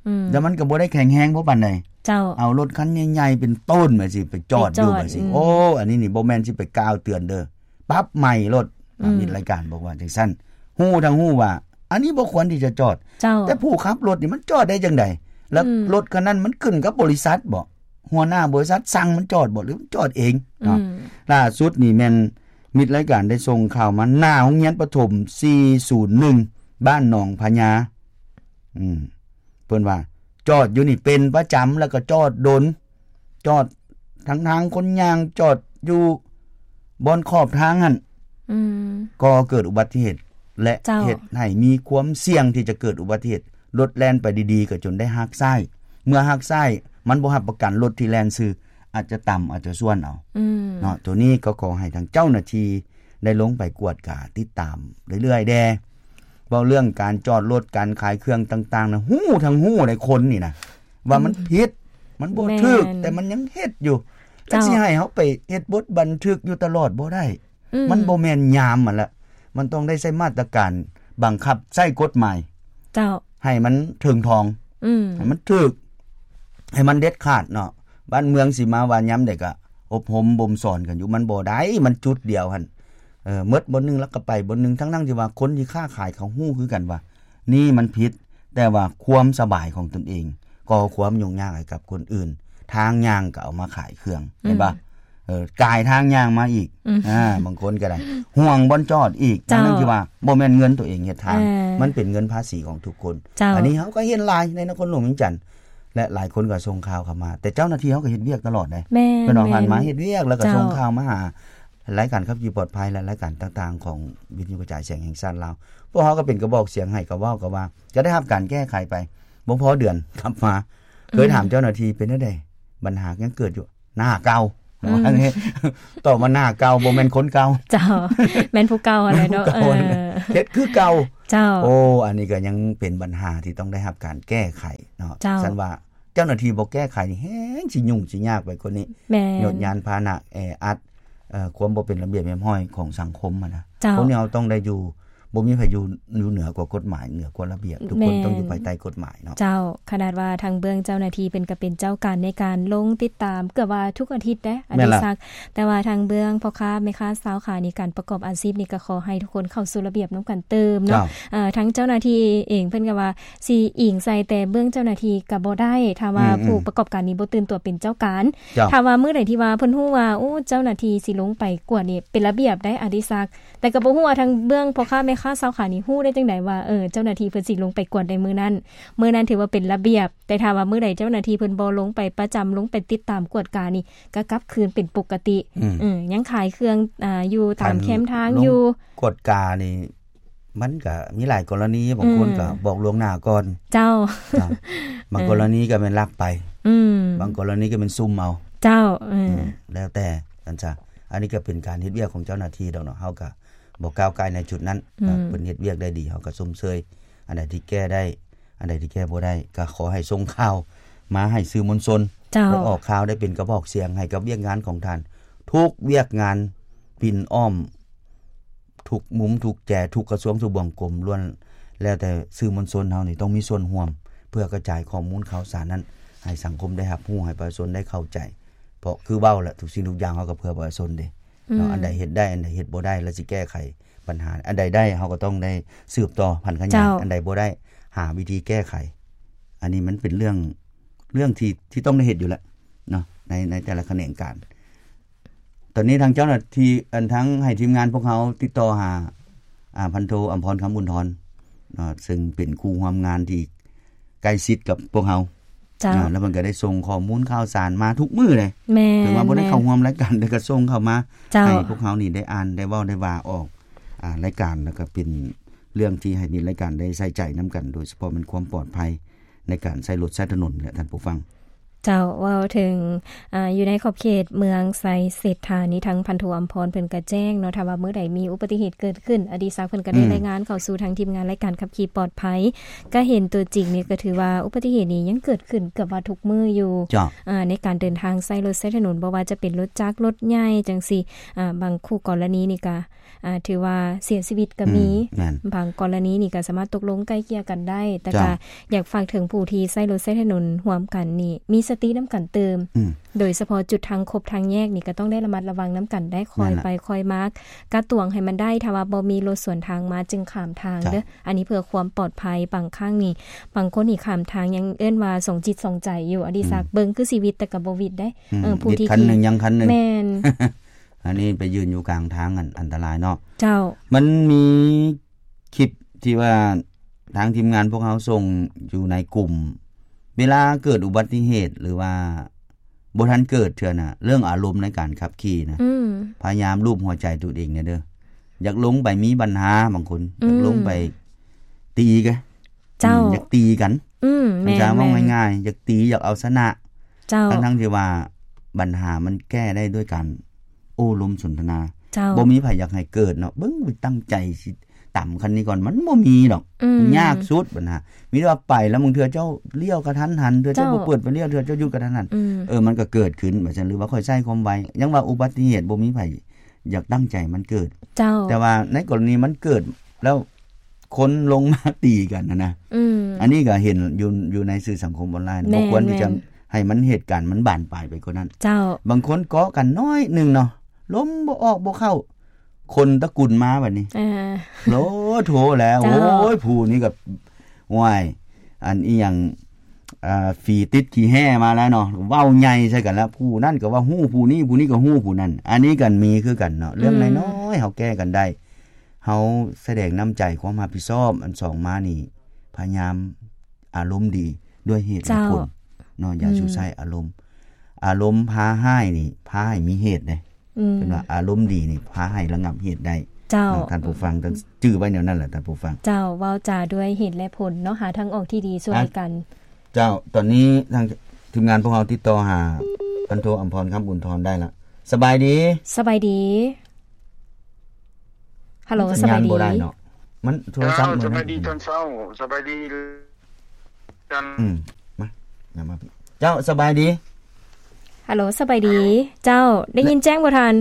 ອືມ ແລ້ວມັນກໍບໍ່ໄດ້ແຂງແຮງພໍປານໃດ ເຈົ້າ ເອົາລົດຄັນໃຫຍ່ໆເປັນໂຕນແບບຊີ້ໄປຈອດຢູ່ແບບຊີ້ ອືມ ໂອ້ ອັນນີ້ນີ້ບໍ່ແມ່ນຊິໄປກ່າວເຕືອນເດີ ປັບໃໝ່ໂລດ ອືມ ມິດລາຍການບອກວ່າຈັ່ງຊັ້ນ ຮູ້ທັງຮູ້ວ່າອັນນີ້ບໍ່ຄວນທີ່ຈະຈອດ ເຈົ້າ ແຕ່ຜູ້ຂັບລົດນີ້ມັນຈອດໄດ້ຈັ່ງໃດ? ແລ້ວ ອືມ ລົດຄັນນັ້ນມັນຂຶ້ນກັບບໍລິສັດບໍ? ຫົວໜ້າບໍລິສັດສັ່ງມັນຈອດບໍ ຫຼືມັນຈອດເອງເນາະ? ອືມ ລ່າສຸດນີ້ແມ່ນມິດລາຍການໄດ້ສົ່ງຂ່າວມາ ໜ້າໂຮງຮຽນປະຖົມສີ່ສູນໜຶ່ງ ບ້ານໜອງພະຍາ ອືມ ເພິ່ນວ່າຈອດຢູ່ນີ້ເປັນປະຈຳ ແລ້ວກໍຈອດດົນ ຈອດທາງທາງຄົນຍ່າງ ຈອດຢູ່ບ່ອນຂອບທາງຫັ້ນ ອືມ ກໍເກີດອຸບັດຕິເຫດ ແລະ ເຈົ້າ ເຮັດໃຫ້ມີຄວາມສ່ຽງທີ່ຈະເກີດອຸບັດຕິເຫດ ລົດແລ່ນໄປດີໆ ກໍຈົນໄດ້ຫັກຊ້າຍ ເມື່ອຫັກຊ້າຍ ມັນບໍ່ຮັບປະກັນ ລົດທີ່ແລ່ນຊື່ອາດຈະຕຳ ອາດຈະຊວນເອົາ ອືມ ເນາະ. ໂຕນີ້ກໍຂໍໃຫ້ທາງເຈົ້າໜ້າທີ່ ໄດ້ລົງໄປກວດກາຕິດຕາມເລື້ອຍໆແດ່ ເວົ້າເລື່ອງການຈອດລົດ ການຂາຍເຄື່ອງຕ່າງໆນະ ຮູ້ທັງຮູ້ໃດ໋ ຄົນນີ້ນະ ວ່າມັນ ອືມ ຜິດ ມັນບໍ່ຖືກ ແມ່ນ ແຕ່ມັນຍັງເຮັດຢູ່ ແລ້ວ ເຈົ້າ ຊິໃຫ້ເຮົາໄປເຮັດບົດບັນທຶກຢູ່ຕະຫຼອດບໍ່ໄດ້ ອືມ ມັນບໍ່ແມ່ນຍາມມັນລະ ມັນຕ້ອງໄດ້ໃຊ້ມາດຕະການບັງຄັບໃຊ້ກົດໝາຍ ເຈົ້າ ໃຫ້ມັນເຖິງຖອງ ອືມ ໃຫ້ມັນຖືກ ໃຫ້ມັນເດັດຂາດເນາະ. ບ້ານເມືອງຊິມາວ່າຍາມໃດກະອົບຮົມບົ່ມສອນກັນຢູ່ ມັນບໍ່ໄດ້ ມັນຈຸດດຽວຫັ້ນ ເອີ ໝົດບ່ອນໜຶ່ງແລ້ວກໍໄປບ່ອນໜຶ່ງ ທັງໆທີ່ວ່າຄົນທີ່ຄ້າຂາຍເຂົາຮູ້ຄືກັນວ່ານີ້ມັນຜິດ ແຕ່ວ່າຄວາມສະບາຍຂອງຕົນເອງ ກໍ່ຄວາມຫຍຸ້ງຍາກໃຫ້ກັບຄົນອື່ນ ທາງຍ່າງກໍເອົາມາຂາຍເຄື່ອງ ອືມ ເຫັນບໍ່? ເອີ ກາຍທາງຍ່າງມາອີກ ອືມ ອ່າ ບາງຄົນກໍໄດ້ ຫ່ວງບ່ອນຈອດອີກ ເຈົ້າ ທັງໆທີ່ວ່າບໍ່ແມ່ນເງິນຕົວເອງເຮັດທາງ ເອີ ມັນເປັນເງິນພາສີຂອງທຸກຄົນ ເຈົ້າ ອັນນີ້ເຮົາກໍເຫັນຫຼາຍໃນນະຄອນຫຼວງວຽງຈັນ ແລະ ຫຼາຍຄົນກໍສົ່ງຂ່າວເຂົ້າມາ ແຕ່ເຈົ້າໜ້າທີ່ເຮົາກໍເຮັດວຽກຕະຫຼອດເດ້ ແມ່ນ ເພິ່ນອອກ ແມ່ນ ຫັນມາເຮັດວຽກ ແລ້ວກໍ ເຈົ້າ ສົ່ງຂ່າວມາຫາລາຍການຂັບຂີ່ປອດໄພ ແລະ ລາຍການຕ່າງໆຂອງວິທະຍຸກະຈາຍສຽງແຫ່ງຊາດລາວ ພວກເຮົາກໍເປັນກະບອກສຽງໃຫ້ ກໍເວົ້າ ກໍວ່າ ກໍໄດ້ຮັບການແກ້ໄຂໄປ ບໍ່ພໍເດືອນກັບມາ ອືມ ເຄີຍຖາມເຈົ້າໜ້າທີ່ເປັນແນວໃດ ບັນຫາຍັງເກີດຢູ່ ໜ້າເກົ່າ ອືມ ຕອບວ່າໜ້າເກົ່າ ບໍ່ແມ່ນຄົນເກົ່າ ເຈົ້າ ແມ່ນຜູ້ເກົ່າຫັ້ນແຫຼະເນາະ ເອີ ເຮັດຄືເກົ່າ ເຈົ້າ ໂອ້ ອັນນີ້ກໍຍັງເປັນບັນຫາທີ່ຕ້ອງໄດ້ຮັບການແກ້ໄຂເນາະ ເຈົ້າ ຊັ້ນວ່າເຈົ້າໜ້າທີ່ບໍ່ແກ້ໄຂນີ້ ແຮງຊິຫຍຸ້ງຊິຍາກໄປກວ່ານີ້ ແມ່ນ ຍານພາຫະນະແອອັດ ເອີ ຄວາມບໍ່ເປັນລະບຽບຮຽບຮ້ອຍຂອງສັງຄົມຫັ້ນນະ ເຈົ້າ ຄົນທີ່ເຮົາຕ້ອງໄດ້ຢູ່ ບໍ່ມີໃຜຢູ່ ຢູ່ເໜືອກວ່າກົດໝາຍ ເໜືອກວ່າລະບຽບ ທຸກຄົນ ແມ່ນ ຕ້ອງຢູ່ພາຍໃຕ້ກົດໝາຍເນາະ ເຈົ້າ ຂະໜາດວ່າທາງເບື້ອງເຈົ້າໜ້າທີ່ເພິ່ນກໍເປັນເຈົ້າການໃນການລົງຕິດຕາມເກືອບວ່າທຸກອາທິດເດ້ ອະ ແມ່ນລະ ດີສັກ ແຕ່ວ່າທາງເບື້ອງພໍ່ຄ້າແມ່ຄ້າຊາວຂາຍໃນການປະກອບອາຊີບນີ້ ກໍຂໍໃຫ້ທຸກຄົນເຂົ້າສູ່ລະບຽບນຳກັນຕື່ມເນາະ ເຈົ້າ ເອີ ທາງເຈົ້າໜ້າທີ່ເອງເພິ່ນກໍວ່າຊິອີງໃສ່ແຕ່ເບື້ອງເຈົ້າໜ້າທີ່ກໍບໍ່ໄດ້ ຖ້າວ່າ ອືມ ຜູ້ປະກອບການນີ້ບໍ່ຕື່ນຕົວເປັນເຈົ້າການ ເຈົ້າ ຖ້າວ່າມື້ໃດທີ່ວ່າເພິ່ນຮູ້ວ່າ ໂອ້ ເຈົ້າໜ້າທີ່ຊິລົງໄປກວດນີ້ເປັນລະບຽບໄດ໋ ອະ ດີສັກ ແຕ່ກໍບໍ່ຮູ້ວ່າທາງເບື້ອງພໍ່ຄ້າແມ່ຄ້າຊາວຂາຍນີ້ຮູ້ໄດ້ຈັ່ງໃດວ່າ ເອີ ເຈົ້າໜ້າທີ່ເພິ່ນຊິລົງໄປກວດໃນມື້ນັ້ນ ມື້ນັ້ນຖືວ່າເປັນລະບຽບ ແຕ່ຖ້າວ່າມື້ໃດເຈົ້າໜ້າທີ່ເພິ່ນບໍ່ລົງໄປປະຈຳ ລົງໄປຕິດຕາມກວດການີ້ ກໍກັບຄືນເປັນປົກກະຕິ ອືມ ເອີ ຍັງຂາຍເຄື່ອງ ອາ ຢູ່ຕາມແຄມທາງຢູ່ ກວດການີ້ ມັນກໍມີຫຼາຍກໍລະນີ ບາງຄົນ ອືມ ກໍບອກລ່ວງໜ້າກ່ອນ ເຈົ້າ ເນາະ ບາງກໍລະນີກໍແມ່ນລັກໄປ ອືມ ບາງກໍລະນີກໍແມ່ນຊຸ່ມເອົາ ເຈົ້າ ເອີ ອືມ ແລ້ວແຕ່ ອັນຊະ ອັນນີ້ກໍເປັນການເຮັດວຽກຂອງເຈົ້າໜ້າທີ່ດອກເນາະ ເຮົາກໍບໍ່ກ້າວກ່າຍໃນຈຸດນັ້ນເນາະ ອືມ ເພິ່ນເຮັດວຽກໄດ້ດີ ເຮົາກໍຊົມເຊີຍ ອັນໃດທີ່ແກ້ໄດ້ ອັນໃດທີ່ແກ້ບໍ່ໄດ້ ກໍຂໍໃຫ້ສົ່ງຂ່າວມາໃຫ້ສື່ມວນຊົນ ເຈົ້າ ໄດ້ອອກຂ່າວ ໄດ້ເປັນກະບອກສຽງໃຫ້ກັບວຽກງານຂອງທ່ານ ທຸກວຽກງານປິ່ນອ້ອມ ທຸກມຸມ ທຸກແຈ ທຸກກະຊວງ ທຸກບ່ອນກົມ ລ້ວນແລ້ວແຕ່ສື່ມວນຊົນເຮົານີ້ຕ້ອງມີສ່ວນຮ່ວມ ເພື່ອກະຈາຍຂໍ້ມູນຂ່າວສານນັ້ນໃຫ້ສັງຄົມໄດ້ຮັບຮູ້ ໃຫ້ປະຊາຊົນໄດ້ເຂົ້າໃຈ ເພາະຄືເວົ້າແຫຼະ ທຸກສິ່ງທຸກຢ່າງເຮົາກໍເພື່ອປະຊາຊົນເດ້ ເນາະ ອືມ ອັນໃດເຮັດໄດ້ ອັນໃດເຮັດບໍ່ໄດ້ ແລ້ວຊິແກ້ໄຂບັນຫາ ອັນໃດໄດ້ເຮົາກໍຕ້ອງໄດ້ສືບຕໍ່ຜັນຂະຫຍາຍ ເຈົ້າ ອັນໃດບໍ່ໄດ້ຫາວິທີແກ້ໄຂ ອັນນີ້ມັນເປັນເລື່ອງ ເລື່ອງທີ່ ທີ່ຕ້ອງໄດ້ເຮັດຢູ່ແລ້ວເນາະ ໃນ ໃນແຕ່ລະຂະແໜງການ. ຕອນນີ້ທາງເຈົ້າໜ້າທີ່ ອັນ ທາງໃຫ້ທີມງານພວກເຮົາຕິດຕໍ່ຫາ ອາ ພັນໂທ ອຳພອນ ຄຳອຸ່ນທອນ ເນາະ ເຊິ່ງເປັນຄູ່ຮ່ວມງານທີ່ໃກ້ຊິດກັບພວກເຮົາ ເຈົ້າ ອາ ແລ້ວເພິ່ນກໍໄດ້ສົ່ງຂໍ້ມູນຂ່າວສານມາທຸກມື້ເດ້ ແມ່ນ ເຖິງວ່າບໍ່ໄດ້ເຂົ້າຮ່ວມລາຍການ ແຕ່ກໍສົ່ງເຂົ້າມາ ເຈົ້າ ໃຫ້ພວກເຮົານີ້ໄດ້ອ່ານ ໄດ້ເວົ້າ ໄດ້ວ່າອອກ ອາ ລາຍການ ແລ້ວກໍເປັນເລື່ອງທີ່ໃຫ້ມີລາຍການໄດ້ໃສ່ໃຈນຳກັນ ໂດຍສະເພາະແມ່ນຄວາມປອດໄພໃນການໃຊ້ລົດໃຊ້ຖະໜົນແຫຼະທ່ານຜູ້ຟັງ. ເຈົ້າ ເວົ້າເຖິງ ອາ ຢູ່ໃນຂອບເຂດເມືອງໄຊເສດຖານີ້ ທາງພັນໂທ ອຳພອນ ເພິ່ນກະແຈ້ງເນາະ ຖ້າວ່າມື້ໃດມີອຸບັດຕິເຫດເກີດຂຶ້ນ ອະດີສັກເພິ່ນກະໄດ້ ອືມ ລາຍງານເຂົ້າສູ່ທາງທີມງານລາຍການຂັບຂີ່ປອດໄພ ກະເຫັນຕົວຈິງນີ້ ກະຖືວ່າອຸບັດຕິເຫດນີ້ຍັງເກີດຂຶ້ນເກືອບວ່າທຸກມື້ຢູ່ ເຈົ້າ ອາ ໃນການເດີນທາງໃຊ້ລົດໃຊ້ຖະໜົນ ບໍ່ວ່າຈະເປັນລົດຈັກ ລົດໃຫຍ່ຈັ່ງຊີ້ ອາ ບາງຄູ່ກໍລະນີນີ້ກະ ອາ ຖືວ່າເສຍຊີວິດກໍມີ ອືມ ແມ່ນ ບາງກໍລະນີນີ້ກໍສາມາດຕົກລົງໄກ່ເກ່ຍກັນໄດ້ ແຕ່ ເຈົ້າ ກໍຢາກຝາກເຖິງຜູ້ທີ່ໃຊ້ລົດໃຊ້ຖະໜົນຮ່ວມກັນນີ້ ມີສະຕິນຳກັນຕື່ມ ອືມ ໂດຍສະເພາະຈຸດທາງຄົບທາງແຍກນີ້ ກໍຕ້ອງໄດ້ລະມັດລະວັງນຳກັນໄດ້ ຄ່ອຍ ແມ່ນລະ ໄປຄ່ອຍມາ ກະຕວງໃຫ້ມັນໄດ້ ຖ້າວ່າບໍ່ມີລົດສວນທາງມາຈຶ່ງຂ້າມທາງ ເຈົ້າ ເດີ ອັນນີ້ເພື່ອຄວາມປອດໄພ ບາງຄັ້ງນີ້ ບາງຄົນນີ້ຂ້າມທາງຍັງເອີ້ນວ່າສອງຈິດສອງໃຈຢູ່ ອະດີສັກ ອືມ ເບິ່ງຄືຊິຫວິດ ແຕ່ກໍບໍ່ຫວິດເດ້ ອືມ ເອີ ຜູ້ທີ່ຂີ່ ຄັນໜຶ່ງຍັງຄັນໜຶ່ງ ແມ່ນ ອັນນີ້ໄປຢືນຢູ່ກາງທາງ ອັນ ອັນຕະລາຍເນາະ ເຈົ້າ ມັນມີຄລິບທີ່ວ່າທາງທີມງານພວກເຮົາສົ່ງຢູ່ໃນກຸ່ມ ເວລາເກີດອຸບັດຕິເຫດ ຫຼືວ່າບໍ່ທັນເກີດເທື່ອນະ ເລື່ອງອາລົມໃນການຂັບຂີ່ນະ ອືມ ພະຍາຍາມລູບຫົວໃຈຕົວເອງແດ່ເດີ ຢາກລົງໄປມີບັນຫາ ບາງຄົນ ອືມ ຢາກລົງໄປຕີກະ ເຈົ້າ ອືມ ຢາກຕີກັນ ອືມ ແມ່ນໆ ເວົ້າງ່າຍໆ ຢາກຕີ ຢາກເອົາຊະນະ ເຈົ້າ ທັງໆ ທີ່ວ່າບັນຫາມັນແກ້ໄດ້ດ້ວຍການໂອ້ລົມສົນທະນາ ເຈົ້າ ບໍ່ມີໃຜຢາກໃຫ້ເກີດເນາະ ເບິ່ງຕັ້ງໃຈຊິຕຳຄັນນີ້ກ່ອນ ມັນບໍ່ມີດອກ ອືມ ຍາກສຸດບັນຫາ ມີແຕ່ວ່າໄປແລ້ວ ບາງເທື່ອເຈົ້າລ້ຽວກະທັນຫັນ ເທື່ອເຈົ້າ ເຈົ້າ ບໍ່ເປີດໄຟລ້ຽວ ເທື່ອເຈົ້າຢຸດກະທັນຫັນ ອືມ ເອີ ມັນກະເກີດຂຶ້ນ ວ່າຊັ້ນ ຫຼືວ່າຂ້ອຍໃຊ້ຄວາມໄວ ຍັງວ່າອຸບັດຕິເຫດບໍ່ມີໃຜ ຢາກຕັ້ງໃຈມັນເກີດ ເຈົ້າ ແຕ່ວ່າໃນກໍລະນີມັນເກີດແລ້ວ ຄົນລົງມາຕີກັນຫັ້ນນະ ອືມ ອັນນີ້ກໍເຫັນຢູ່ ຢູ່ໃນສື່ສັງຄົມອອນລາຍ ແມ່ນໆ ບໍ່ຄວນທີ່ຈະໃຫ້ມັນ ເຫດການມັນບານປາຍໄປກວ່ານັ້ນ ເຈົ້າ ບາງຄົນເກາະກັນໜ້ອຍໜຶ່ງເນາະ ລົມບໍ່ອອກບໍ່ເຂົ້າ ຄົນຕະກຸນມາບັດນີ້ ເອີ ໂລໂທແລ້ວ ເຈົ້າ ໂອ້ຍ ຜູ້ນີ້ກໍ ໂອ້ຍ ອັນອີ່ຫຍັງ ອ່າ ຝີຕິດຂີ້ແຮ່ມາແລ້ວເນາະ ເວົ້າໃຫຍ່ໃສ່ກັນແລ້ວ ຜູ້ນັ້ນກໍວ່າຮູ້ຜູ້ນີ້ ຜູ້ນີ້ກໍຮູ້ຜູ້ນັ້ນ ອັນນີ້ກໍມີຄືກັນເນາະ ເລື່ອງ ອືມ ນ້ອຍໆ ເຮົາແກ້ກັນໄດ້ ເຮົາສະແດງນ້ຳໃຈຄວາມຮັບຜິດຊອບ ອັນສອງມານີ້ ພະຍາຍາມອາລົມດີດ້ວຍເຫດແລະຜົນ ເຈົ້າ ເນາະ ຢ່າ ອືມ ຊູ່ໃຊ້ອາລົມ ອາລົມພາຮ້າຍນີ້ ພາໃຫ້ມີເຫດເດ້ ອືມ ເພິ່ນວ່າອາລົມດີນີ້ພາໃຫ້ລະງັບເຫດໄດ້ ເຈົ້າ ເນາະ ທ່ານຜູ້ຟັງ ອືມ ຈື່ໄວ້ແນວນັ້ນແຫຼະທ່ານຜູ້ຟັງ ເຈົ້າ ເວົ້າຈາດ້ວຍເຫດແລະຜົນເນາະ ຫາທາງອອກທີ່ດີສູ່ກັນ ເຈົ້າ ຕອນນີ້ທາງທີມງານພວກເຮົາຕິດຕໍ່ຫາພັນໂທ ອຳພອນ ຄຳອຸ່ນທອນ ໄດ້ລະ ສະບາຍດີ ສະບາຍດີ ຮັລໂຫຼ ສັນຍານບໍ່ໄດ້ເນາະ ມັນໂທລະສັບ ເຈົ້າ ມື້ນັ້ນ ສະບາຍດີຕອນເຊົ້າ ສະບາຍດີ ອືມ ມາ ນຳມາ ເຈົ້າ ສະບາຍດີ ຮັລໂຫຼ ສະບາຍດີ ເຈົ້າ ໄດ້ຍິນແຈ້ງບໍ່ທ່ານ?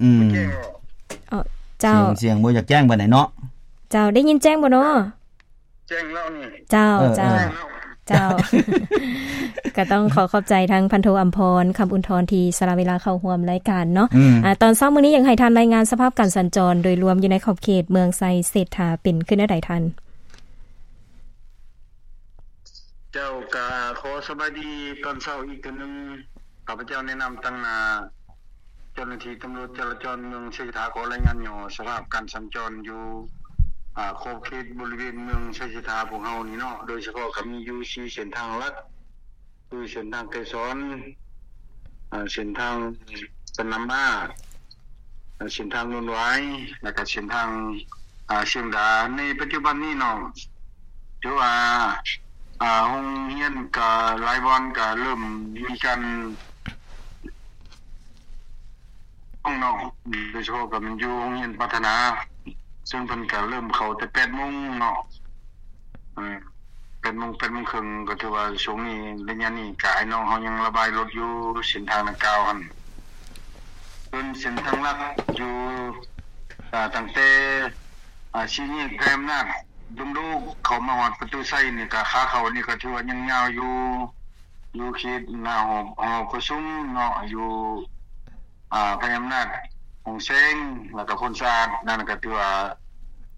ອືມ ເຈົ້າ ສຽງ ສຽງບໍ່ຢາກແຈ້ງປານໃດເນາະ ເຈົ້າ ໄດ້ຍິນແຈ້ງບໍ່ເນາະ? ແຈ້ງແລ້ວນີ້ ເຈົ້າ ເອີ ເຈົ້າ ເອີ ເຈົ້າ ກໍຕ້ອງຂໍຂອບໃຈທາງພັນໂທ ອຳພອນ ຄຳອຸ່ນທອນ ທີ່ສະລະເວລາເຂົ້າຮ່ວມລາຍການເນາະ ອືມ ອາ ຕອນເຊົ້າມື້ນີ້ຢາກໃຫ້ທ່ານລາຍງານສະພາບການສັນຈອນໂດຍລວມຢູ່ໃນຂອບເຂດເມືອງໄຊເສດຖາ ເປັນຄືແນວໃດທ່ານ? ເຈົ້າ ກະຂໍສະບາຍດີຕອນເຊົ້າອີກເທື່ອໜຶ່ງ ຂ້າພະເຈົ້າໃນນາມຕາງໜ້າເຈົ້າໜ້າທີ່ຕຳຫຼວດຈະລາຈອນເມືອງໄຊເສດຖາ ຂໍລາຍງານຫຍໍ້ສະພາບການສັນຈອນຢູ່ ອາ ຂອບເຂດບໍລິເວນເມືອງໄຊເສດຖາພວກເຮົານີ້ເນາະ ໂດຍສະເພາະກໍມີຢູ່ສີ່ເສັ້ນທາງຫຼັກ ຄືເສັ້ນທາງໄກສອນ ອາ ເສັ້ນທາງສະໜາມມ້າ ເສັ້ນທາງໂນນຫວາຍ ແລ້ວກໍເສັ້ນທາງ ອາ ຊຽງດາ. ໃນປັດຈຸບັນນີ້ເນາະ ຖືວ່າ ອາ ໂຮງຮຽນກໍຫຼາຍບ່ອນກໍເລີ່ມມີການ ເນາະ ໂດຍສະເພາະກໍແມ່ນຢູ່ໂຮງຮຽນປາຖະໜາ ເຊິ່ງເພິ່ນກໍເລີ່ມເຂົ້າແຕ່ແປດໂມງເນາະ ເອີ ແປດໂມງ ແປດໂມງເຄິ່ງ ກໍຖືວ່າຊ່ວງນີ້ ໄລຍະນີ້ກໍອ້າຍນ້ອງເຮົາຍັງລະບາຍລົດຢູ່ເສັ້ນທາງດັ່ງກ່າວຫັ້ນ. ສ່ວນເສັ້ນທາງຫຼັກຢູ່ ອາ ຕັ້ງແຕ່ ອາ ສີ່ແຍກໄພອຳນາດດົງໂດກ ເຂົ້າມາຮອດປະຕູໄຊນີ້ ກໍຂາເຂົ້ານີ້ກໍຖືວ່າຍັງຍາວຢູ່ ຢູ່ເຂດໜ້າຫໍ ຫໍປະຊຸມເນາະ ຢູ່ ອາ ໄພອຳນາດ ຫົງແສງ ແລ້ວກໍໂພນສະອາດ ນັ້ນກໍຖືວ່າ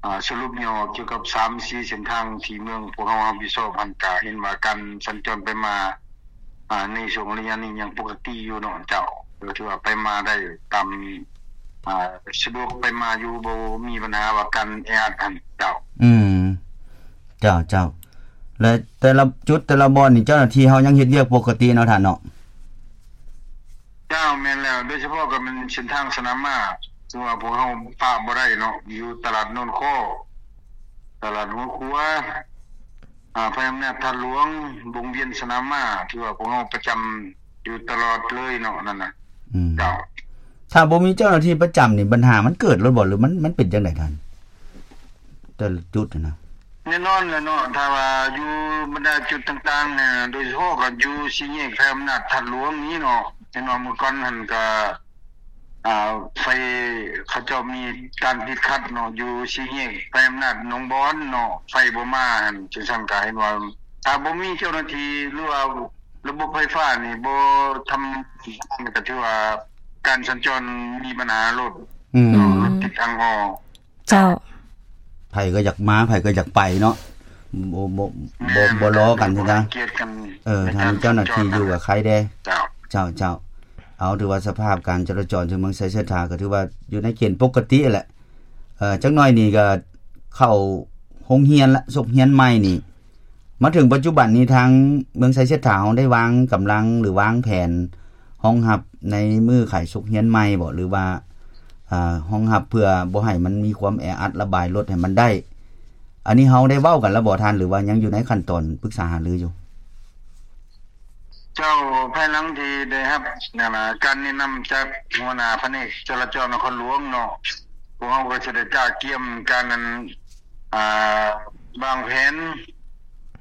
ອາ ສະຫຼຸບຫຍໍ້ກ່ຽວກັບສາມສີ່ເສັ້ນທາງທີ່ເມືອງພວກເຮົາຮັບຜິດຊອບຫັ້ນ ກະເຫັນວ່າການສັນຈອນໄປມາ ອາ ໃນຊ່ວງໄລຍະນີ້ຍັງປົກກະຕິຢູ່ເນາະເຈົ້າ ກໍຖືວ່າໄປມາໄດ້ຕາມ ອາ ສະດວກໄປມາຢູ່ ບໍ່ມີບັນຫາວ່າການແອອັດຫັ້ນເຈົ້າ. ອືມ ເຈົ້າ ເຈົ້າ ແລະ ແຕ່ລະຈຸດແຕ່ລະບ່ອນນີ້ ເຈົ້າໜ້າທີ່ເຮົາຍັງເຮັດວຽກປົກກະຕິເນາະທ່ານເນາະ? ເຈົ້າ ແມ່ນແລ້ວ ໂດຍສະເພາະກໍແມ່ນເສັ້ນທາງສະໜາມມ້າ ຖືວ່າພວກເຮົາປະບໍ່ໄດ້ເນາະ ຢູ່ຕະຫຼາດໂນນຄໍ້ ຕະຫຼາດຫົວຂົວ ອາ ໄພອຳນາດທາດຫຼວງ ວົງວຽນສະໜາມມ້າ ຖືວ່າພວກເຮົາປະຈຳຢູ່ຕະຫຼອດເລີຍເນາະ ນັ້ນນະ. ອືມ ເຈົ້າ ຖ້າບໍ່ມີເຈົ້າໜ້າທີ່ປະຈຳນີ້ ບັນຫາມັນເກີດໂລດບໍ່ ຫຼືມັນ ມັນເປັນຈັ່ງໃດທ່ານ ແຕ່ລະຈຸດຫັ້ນນະ? ແນ່ນອນແຫຼະເນາະ ຖ້າວ່າຢູ່ບັນດາຈຸດຕ່າງໆ ໂດຍສະເພາະກໍຢູ່ສີ່ແຍກໄພອຳນາດທາດຫຼວງນີ້ເນາະ ແນ່ນອນ ເມື່ອກ່ອນຫັ້ນກໍ ອາ ໄຟ ເຂົາເຈົ້າມີການຕິດຂັດເນາະ ຢູ່ສີ່ແຍກໄພອຳນາດໜອງບອນເນາະ ໄຟບໍ່ມາຫັ້ນ ຈັ່ງຊັ້ນກໍເຫັນວ່າ ຖ້າບໍ່ມີເຈົ້າໜ້າທີ່ ຫຼືວ່າລະບົບໄຟຟ້ານີ້ບໍ່ທຳງານ ກໍຖືວ່າການສັນຈອນມີບັນຫາໂລດ ອືມ ເນາະ ລົດຕິດອັງອໍ. ເຈົ້າ ໃຜກໍຢາກມາ ໃຜກໍຢາກໄປເນາະ ບໍ່ ບໍ່ ບໍ່ ບໍ່ລໍກັນຊະນະ ໃຫ້ກຽດກັນ ເອີ ໃນການສັນຈອນ ຖ້າມີເຈົ້າໜ້າທີ່ຢູ່ກໍໄຄແດ່. ເຈົ້າ ເຈົ້າ ເຈົ້າ ເອົາ ຖືວ່າສະພາບການຈະລາຈອນທີ່ເມືອງໄຊເສດຖາກໍຖືວ່າຢູ່ໃນເກນປົກກະຕິແຫຼະ ເອີ ຈັກໜ້ອຍນີ້ກໍເຂົ້າໂຮງຮຽນລະ ສົກຮຽນໃໝ່ນີ້ ມາເຖິງປັດຈຸບັນນີ້ ທາງເມືອງໄຊເສດຖາເຮົາໄດ້ວາງກຳລັງ ຫຼື ວາງແຜນຮອງຮັບໃນມື້ຂາຍສົກຮຽນໃໝ່ບໍ່ ຫຼືວ່າ ອາ ຮອງຮັບເພື່ອບໍ່ໃຫ້ມັນມີຄວາມແອອັດ ລະບາຍລົດໃຫ້ມັນໄດ້ ອັນນີ້ເຮົາໄດ້ເວົ້າກັນແລ້ວບໍ່ທ່ານ ຫຼືວ່າຍັງຢູ່ໃນຂັ້ນຕອນປຶກສາຫາລືຢູ່? ເຈົ້າ ພາຍຫຼັງທີ່ໄດ້ຮັບ ນັ້ນນະ ການແນະນຳຈາກຫົວໜ້າພະແນກຈະລາຈອນນະຄອນຫຼວງເນາະ ພວກເຮົາກໍຈະໄດ້ກະກຽມການ ນັ້ນ ອາ ວາງແຜນ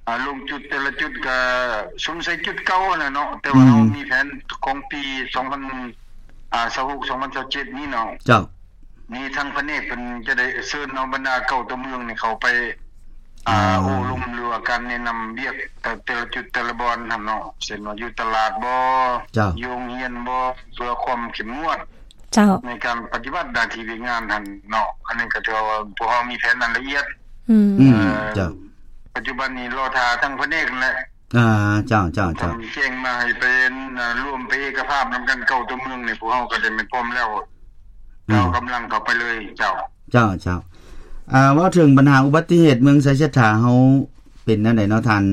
ອາ ລົງຈຸດແຕ່ລະຈຸດກໍສົງໄສຈຸດເກົ່າຫັ້ນແຫຼະເນາະ ແຕ່ວ່າ ອືມ ເຮົາມີແຜນຂອງປີສອງພັນ ອາ ຊາວຫົກ ສອງພັນຊາວເຈັດນີ້ເນາະ. ເຈົ້າ ນີ້ທາງພະແນກເພິ່ນຈະໄດ້ເຊີນເອົາບັນດາເກົ້າຕົວເມືອງນີ້ເຂົ້າໄປ ອາ ອືມ ໂອ້ລົມ ຫຼືວ່າການແນະນຳວຽກແຕ່ ແຕ່ລະຈຸດແຕ່ລະບ່ອນຫັ້ນເນາະ ເຊັ່ນວ່າຢູ່ຕະຫຼາດບໍ ເຈົ້າ ຢູ່ໂຮງຮຽນບໍ ເພື່ອຄວາມເຂັ້ມງວດ ເຈົ້າ ໃນການປະຕິບັດໜ້າທີ່ວຽກງານຫັ້ນເນາະ ອັນນີ້ກໍຖືວ່າພວກເຮົາມີແຜນອັນລະອຽດ ອືມ ອືມ ເຈົ້າ ປັດຈຸບັນນີ້ລໍຖ້າທາງພະແນກຫັ້ນແຫຼະ. ອາ ເຈົ້າ ເຈົ້າ ເຈົ້າ ແຈ້ງມາໃຫ້ໄປ ອາ ລວມໄປເອກະພາບນຳກັນເກົ້າຕົວເມືອງນີ້ ພວກເຮົາກໍໄດ້ແມ່ນພ້ອມແລ້ວ ອືມ ເຮົາກຳລັງເຂົ້າໄປເລີຍ. ເຈົ້າ ເຈົ້າ ເຈົ້າ ອາ ເວົ້າເຖິງບັນຫາອຸບັດຕິເຫດເມືອງໄຊເສດຖາເຮົາເປັນແນວໃດເນາະທ່ານ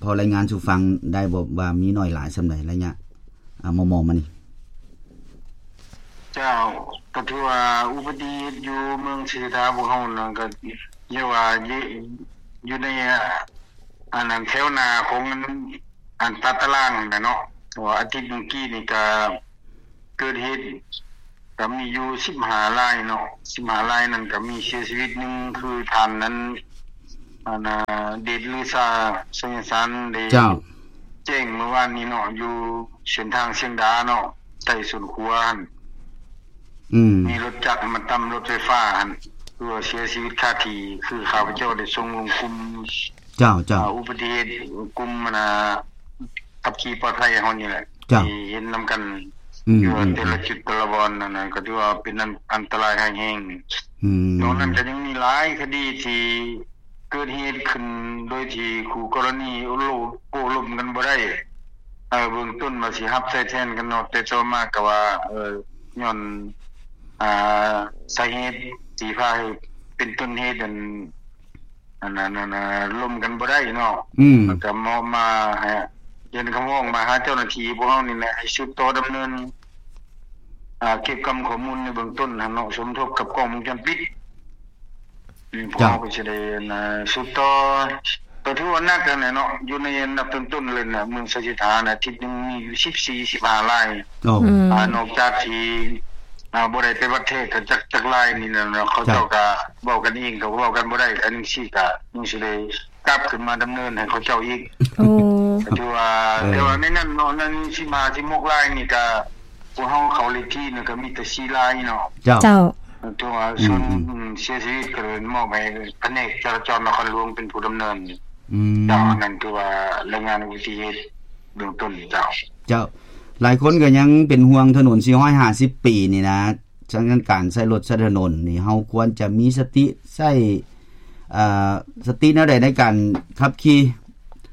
ພໍລາຍງານສູ່ຟັງໄດ້ບໍ່ວ່າມີໜ້ອຍຫຼາຍສ່ຳໃດໄລຍະ ອາ ມໍ່ໆມານີ້? ເຈົ້າ ກໍຖືວ່າອຸບັດຕິເຫດຢູ່ເມືອງໄຊເສດຖາພວກເຮົານັ້ນ ກໍເອີ້ນວ່າຢູ່ ຢູ່ໃນ ອັນນັ້ນ ແຖວໜ້າຂອງອັນ ອັນຕາຕະລາງຫັ້ນແຫຼະເນາະ ເພາະວ່າອາທິດເມື່ອກີ້ນີ້ກະເກີດເຫດ ກະມີຢູ່ສິບຫ້າລາຍເນາະ ສິບຫ້າລາຍນັ້ນກະມີເສຍຊີວິດໜຶ່ງ ຄືທ່ານນັ້ນ ອັນນາ ເດດລືຊາ ໄຊຍະສານ ໄດ້ ເຈົ້າ ແຈ້ງມື້ວານນີ້ເນາະ ຢູ່ເສັ້ນທາງຊຽງດາເນາະ ໃຕ້ສວນຂົວຫັ້ນ ອືມ ມີລົດຈັກມາຕຳລົດໄຟຟ້າຫັ້ນ ຄືວ່າເສຍຊີວິດຄາທີ່ ຄືຂ້າພະເຈົ້າໄດ້ສົ່ງລົງກຸ່ມ ເຈົ້າ ເຈົ້າ ອາ ອຸບັດຕິເຫດ ກຸ່ມ ອັນນາ ຂັບຂີ່ປອດໄພເຮົານີ້ແຫຼະ ເຈົ້າ ທີ່ເຫັນນຳກັນ ອືມ ຢູ່ ອືມ ແຕ່ລະຈຸດແຕ່ລະບ່ອນ ອັນນັ້ນກໍຖືວ່າເປັນອັນ ອັນຕະລາຍຮ້າຍແຮງ ອືມ ນອກນັ້ນກໍຍັງມີຫຼາຍຄະດີທີ່ເກີດເຫດຂຶ້ນໂດຍທີ່ຄູ່ກໍລະນີໂອ້ລົມ ໂອ້ລົມກັນບໍ່ໄດ້ ເອີ ເບື້ອງຕົ້ນວ່າຊິຮັບໃຊ້ແທນກັນເນາະ ແຕ່ຕໍ່ມາກໍວ່າ ເອີ ຍ້ອນ ອາ ສາເຫດທີ່ພາໃຫ້ເປັນຕົ້ນເຫດ ອັນ ອັນນັ້ນ ອັນນັ້ນ ລົມກັນບໍ່ໄດ້ເນາະ ອືມ ມັນກໍມອບມາໃຫ້ ເປັນຄຳຮ້ອງມາຫາເຈົ້າໜ້າທີ່ພວກເຮົານີ້ແຫຼະ ໃຫ້ສືບຕໍ່ດຳເນີນ ອາ ເກັບກຳຂໍ້ມູນໃນເບື້ອງຕົ້ນຫັ້ນເນາະ ສົມທົບກັບກ້ອງວົງຈອນປິດ ອືມ ພວກເຮົາກໍຊິໄດ້ ເອີ ສືບຕໍ່ ກໍຖືວ່າໜັກຫັ້ນແຫຼະເນາະ ຢູ່ໃນອັນດັບຕົ້ນໆເລີຍນະ ເມືອງໄຊເສດຖານະ ອາທິດໜຶ່ງມີຢູ່ສິບສີ່ ສິບຫ້າລາຍ ໂອ້ ອືມ ອາ ນອກຈາກທີ່ ອ່າ ບໍ່ໄດ້ໄປວັດແທກກັນຈັກ ຈັກລາຍນີ້ນະເນາະ ເຂົາເຈົ້າ ເຈົ້າ ກະເວົ້າກັນເອງ ກະເວົ້າກັນບໍ່ໄດ້ ອັນຈັ່ງຊີ້ກະຍັງຊິໄດ້ກັບຂຶ້ນມາດຳເນີນໃຫ້ເຂົາເຈົ້າອີກ. ໂອ້ ກະຖືວ່າ ເອີ ແຕ່ວ່າໃນນັ້ນເນາະ ໃນສິບຫ້າ ສິບຫົກລາຍນີ້ກະ ພວກເຮົາເຂົ້າເລກທີນີ້ກະມີແຕ່ສີ່ລາຍເນາະ. ເຈົ້າ ເຈົ້າ ຖືວ່າ ອືມ ສ່ວນ ອືມ ເສຍຊີວິດກະໄດ້ມອບໃຫ້ພະແນກຈະລາຈອນນະຄອນຫຼວງເປັນຜູ້ດຳເນີນ. ອືມ ເຈົ້າ ອັນນັ້ນຖືວ່າລາຍງານອຸບັດຕິເຫດເບື້ອງຕົ້ນເຈົ້າ. ເຈົ້າ ຫຼາຍຄົນກໍຍັງເປັນຫ່ວງຖະໜົນສີ່ຮ້ອຍຫ້າສິບປີນີ້ນະ ສະນັ້ນການໃຊ້ລົດໃຊ້ຖະໜົນນີ້ ເຮົາຄວນຈະມີສະຕິໃຊ້ ເອີ ສະຕິແນວໃດໃນການຂັບຂີ່?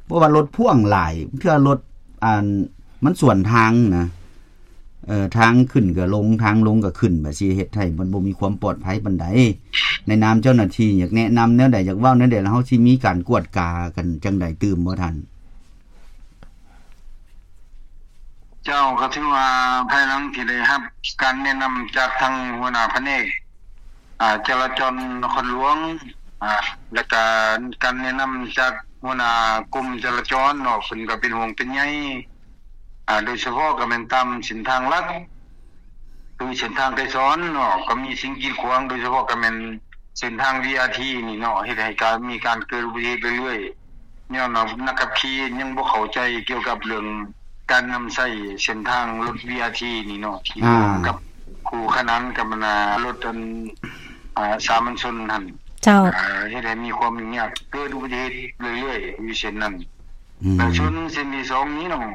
ເພາະວ່າລົດພ່ວງຫຼາຍ ເທື່ອລົດ ອັນ ມັນສວນທາງນະ ເອີ ທາງຂຶ້ນກໍລົງ ທາງລົງກໍຂຶ້ນ ບາດຊິເຮັດໃຫ້ມັນບໍ່ມີຄວາມປອດໄພປານໃດ. ໃນນາມເຈົ້າໜ້າທີ່ ຢາກແນະນຳແນວໃດ ຢາກເວົ້າແນວໃດ ແລ້ວເຮົາຊິມີການກວດກາກັນຈັ່ງໃດຕື່ມບໍ່ທ່ານ? ເຈົ້າ ກໍຖືວ່າພາຍຫຼັງທີ່ໄດ້ຮັບການແນະນຳຈາກທາງຫົວໜ້າພະແນກ ອາ ຈະລາຈອນນະຄອນຫຼວງ ອາ ແລ້ວກະການແນະນຳຈາກຫົວໜ້າກົມຈະລາຈອນເນາະ ເພິ່ນກໍເປັນຫ່ວງເປັນໃຍ ອາ ໂດຍສະເພາະກໍແມ່ນຕາມເສັ້ນທາງຫຼັກ ຄືເສັ້ນທາງໄກສອນເນາະ ກໍມີສິ່ງກີດຂວາງ ໂດຍສະເພາະກໍແມ່ນເສັ້ນທາງ ວີອາທີ ນີ້ເນາະ ເຮັດໃຫ້ການ ມີການເກີດອຸບັດຕິເຫດເລື້ອຍໆ ຍ້ອນວ່ານັກຂັບຂີ່ຍັງບໍ່ເຂົ້າໃຈກ່ຽວກັບເລື່ອງການນຳໃຊ້ເສັ້ນທາງລົດ ວີອາທີ ນີ້ເນາະ ທີ່ ອ່າ ຮ່ວມກັບຄູ່ຂະໜານກັບ ອັນ ລົດ ອັນ ອາ ສາມັນຊົນຫັ້ນ. ເຈົ້າ ອາ ເຮັດໃຫ້ມີຄວາມຫຍຸ້ງຍາກ ເກີດອຸບັດຕິເຫດເລື້ອຍໆ ຢູ່ເສັ້ນນັ້ນ. ອືມ ແລ້ວສ່ວນເສັ້ນທີສອງນີ້ເນາະ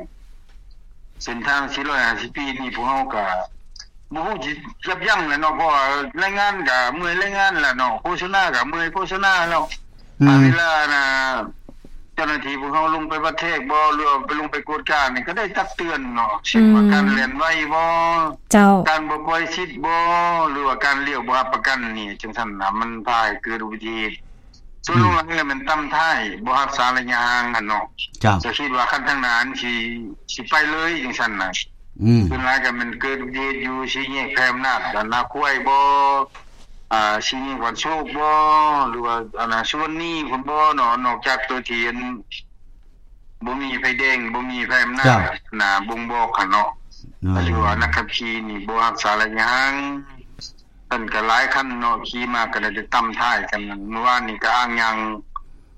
ເສັ້ນທາງສີ່ຮ້ອຍຫ້າສິບປີນີ້ ພວກເຮົາກະບໍ່ຮູ້ຊິຢັບຢັ້ງແຫຼະເນາະ ເພາະວ່າແຮງງານກະເມື່ອຍແຮງງານແຫຼະເນາະ ໂຄສະນາກະເມື່ອຍໂຄສະນາແລ້ວ. ອືມ ເວລານະ ເຈົ້າໜ້າທີ່ພວກເຮົາລົງໄປວັດແທກບໍ່ ຫຼືວ່າໄປລົງໄປກວດການີ້ ກໍໄດ້ຕັກເຕືອນເນາະ ເຊັ່ນວ່າ ອືມ ການແລ່ນໄວບໍ່ ເຈົ້າ ການບໍ່ປ່ອຍສິດບໍ່ ຫຼືວ່າການລ້ຽວບໍ່ຮັບປະກັນນີ້ ຈັ່ງຊັ້ນນະ ມັນພາໃຫ້ເກີດອຸບັດຕິເຫດ. ສ່ວນ ອືມ ຫຼວງຫຼາຍແລ້ວແມ່ນຕຳທ້າຍ ບໍ່ຮັກສາໄລຍະຫ່າງຫັ້ນເນາະ. ເຈົ້າ ຈະຄິດວ່າຄັນທາງໜ້ານີ້ຊິ ຊິໄປເລີຍຈັ່ງຊັ້ນນະ. ອືມ ສ່ວນຫຼາຍກໍແມ່ນເກີດອຸບັດຕິເຫດຢູ່ສີ່ແຍກແຜ່ອຳນາດ ອັນນາຄວາຍບໍ່ ອ່າ ສີ່ແຍກບ້ານໂຊກບໍ່ ຫຼືວ່າ ອັນນາ ສຸວັນນີພຸ້ນບໍ່ເນາະ ນອກຈາກໂຕທີ່ ອັນ ບໍ່ມີໄຟແດງ ບໍ່ມີໄຟອຳນາດ ເຈົ້າ ໜ້າບົ່ງບອກຫັ້ນເນາະ. ອືມ ກໍຖືວ່ານັກຂັບຂີ່ນີ້ບໍ່ຮັກສາໄລຍະຫ່າງ. ເພິ່ນກໍຫຼາຍຄັນເນາະ ຂີ່ມາກໍໄດ້ແຕ່ຕຳທ້າຍກັນ. ມື້ວານນີ້ກໍອ້າງຍາງ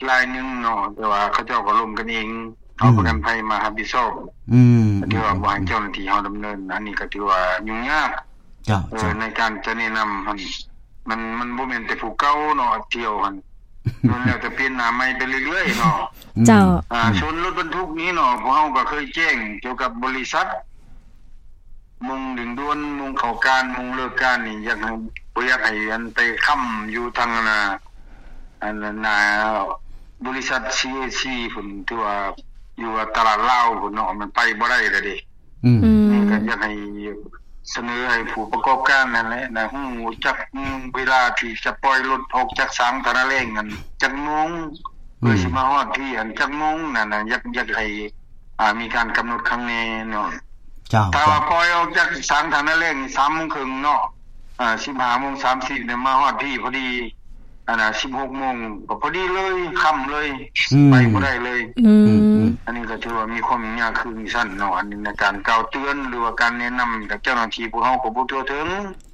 ລາຍໜຶ່ງເນາະ ແຕ່ວ່າເຂົາເຈົ້າກໍລົມກັນເອງ ເອົາ ອືມ ປະກັນໄພມາຮັບຜິດຊອບ. ອືມ ກໍຖືວ່າ ອືມ ບໍ່ໃຫ້ເຈົ້າໜ້າທີ່ເຮົາດຳເນີນ ອັນນີ້ກໍຖືວ່າຫຍຸ້ງຍາກ. ເຈົ້າ ເອີ ເຈົ້າ ໃນການຈະແນະນຳຫັ້ນ ມັນ ມັນບໍ່ແມ່ນແຕ່ຜູ້ເກົ່າເນາະ ທ່ຽວຫັ້ນ ລ້ວນແລ້ວແຕ່ປ່ຽນໜ້າໃໝ່ໄປເລື້ອຍໆເນາະ. ອືມ ເຈົ້າ ອືມ ສ່ວນລົດບັນທຸກນີ້ເນາະ ພວກເຮົາກໍເຄີຍແຈ້ງກ່ຽວກັບບໍລິສັດ ໂມງເລັ່ງດ່ວນ ໂມງເຂົ້າການ ໂມງເລີກການນີ້ ຢາກໃຫ້ ບໍ່ຢາກໃຫ້ອັນໄປຄ້ຳຢູ່ທາງ ອັນນ່າ ອັນນ່າ ບໍລິສັດ ຊີເອຊີ ພຸ້ນ ທີ່ວ່າຢູ່ຕະຫຼາດລາວພຸ້ນເນາະ ມັນໄປບໍ່ໄດ້ລະເດ້. ອືມ ອືມ ນີ້ກໍຢາກໃຫ້ສະເໜີໃຫ້ຜູ້ປະກອບການນັ້ນແຫຼະນະ ຮູ້ຈັກເວລາທີ່ຈະປ່ອຍລົດອອກຈາກສາງທານາແລງນັ້ນຈັກໂມງ ເພື່ອ ອືມ ຊິມາຮອດທີ່ອັນຈັກໂມງນັ້ນນະ ຢາກ ຢາກໃຫ້ ອ່າ ມີການກຳນົດຄັກແນ່ເນາະ. ເຈົ້າ ຖ້າວ່າ ເຈົ້າ ປ່ອຍອອກຈາກສາງທານາແລງນີ້ສາມໂມງເຄິ່ງເນາະ ອ່າ ສິບຫ້າໂມງສາມສິບນີ້ມາຮອດທີ່ພໍດີ ອັນນ່າ ສິບຫົກໂມງກໍພໍດີເລີຍ ຄ່ຳເລີຍ ອືມ ໄປບໍ່ໄດ້ເລີຍ. ອືມ ອືມ ອັນນີ້ກໍຖືວ່າມີຄວາມຫຍຸ້ງຍາກຄືຈັ່ງຊັ້ນເນາະ. ອັນນີ້ໃນການກ່າວເຕືອນ ຫຼືວ່າການແນະນຳ ກໍເຈົ້າໜ້າທີ່ພວກເຮົາກໍບໍ່ທົ່ວເຖິງ.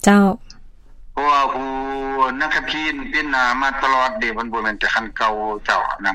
ເຈົ້າ ເພາະວ່າຜູ້ນັກຂັບຂີ່ປ່ຽນໜ້າມາຕະຫຼອດເດ້ ມັນບໍ່ແມ່ນແຕ່ຄັນເກົ່າເຈົ້ານັ້ນ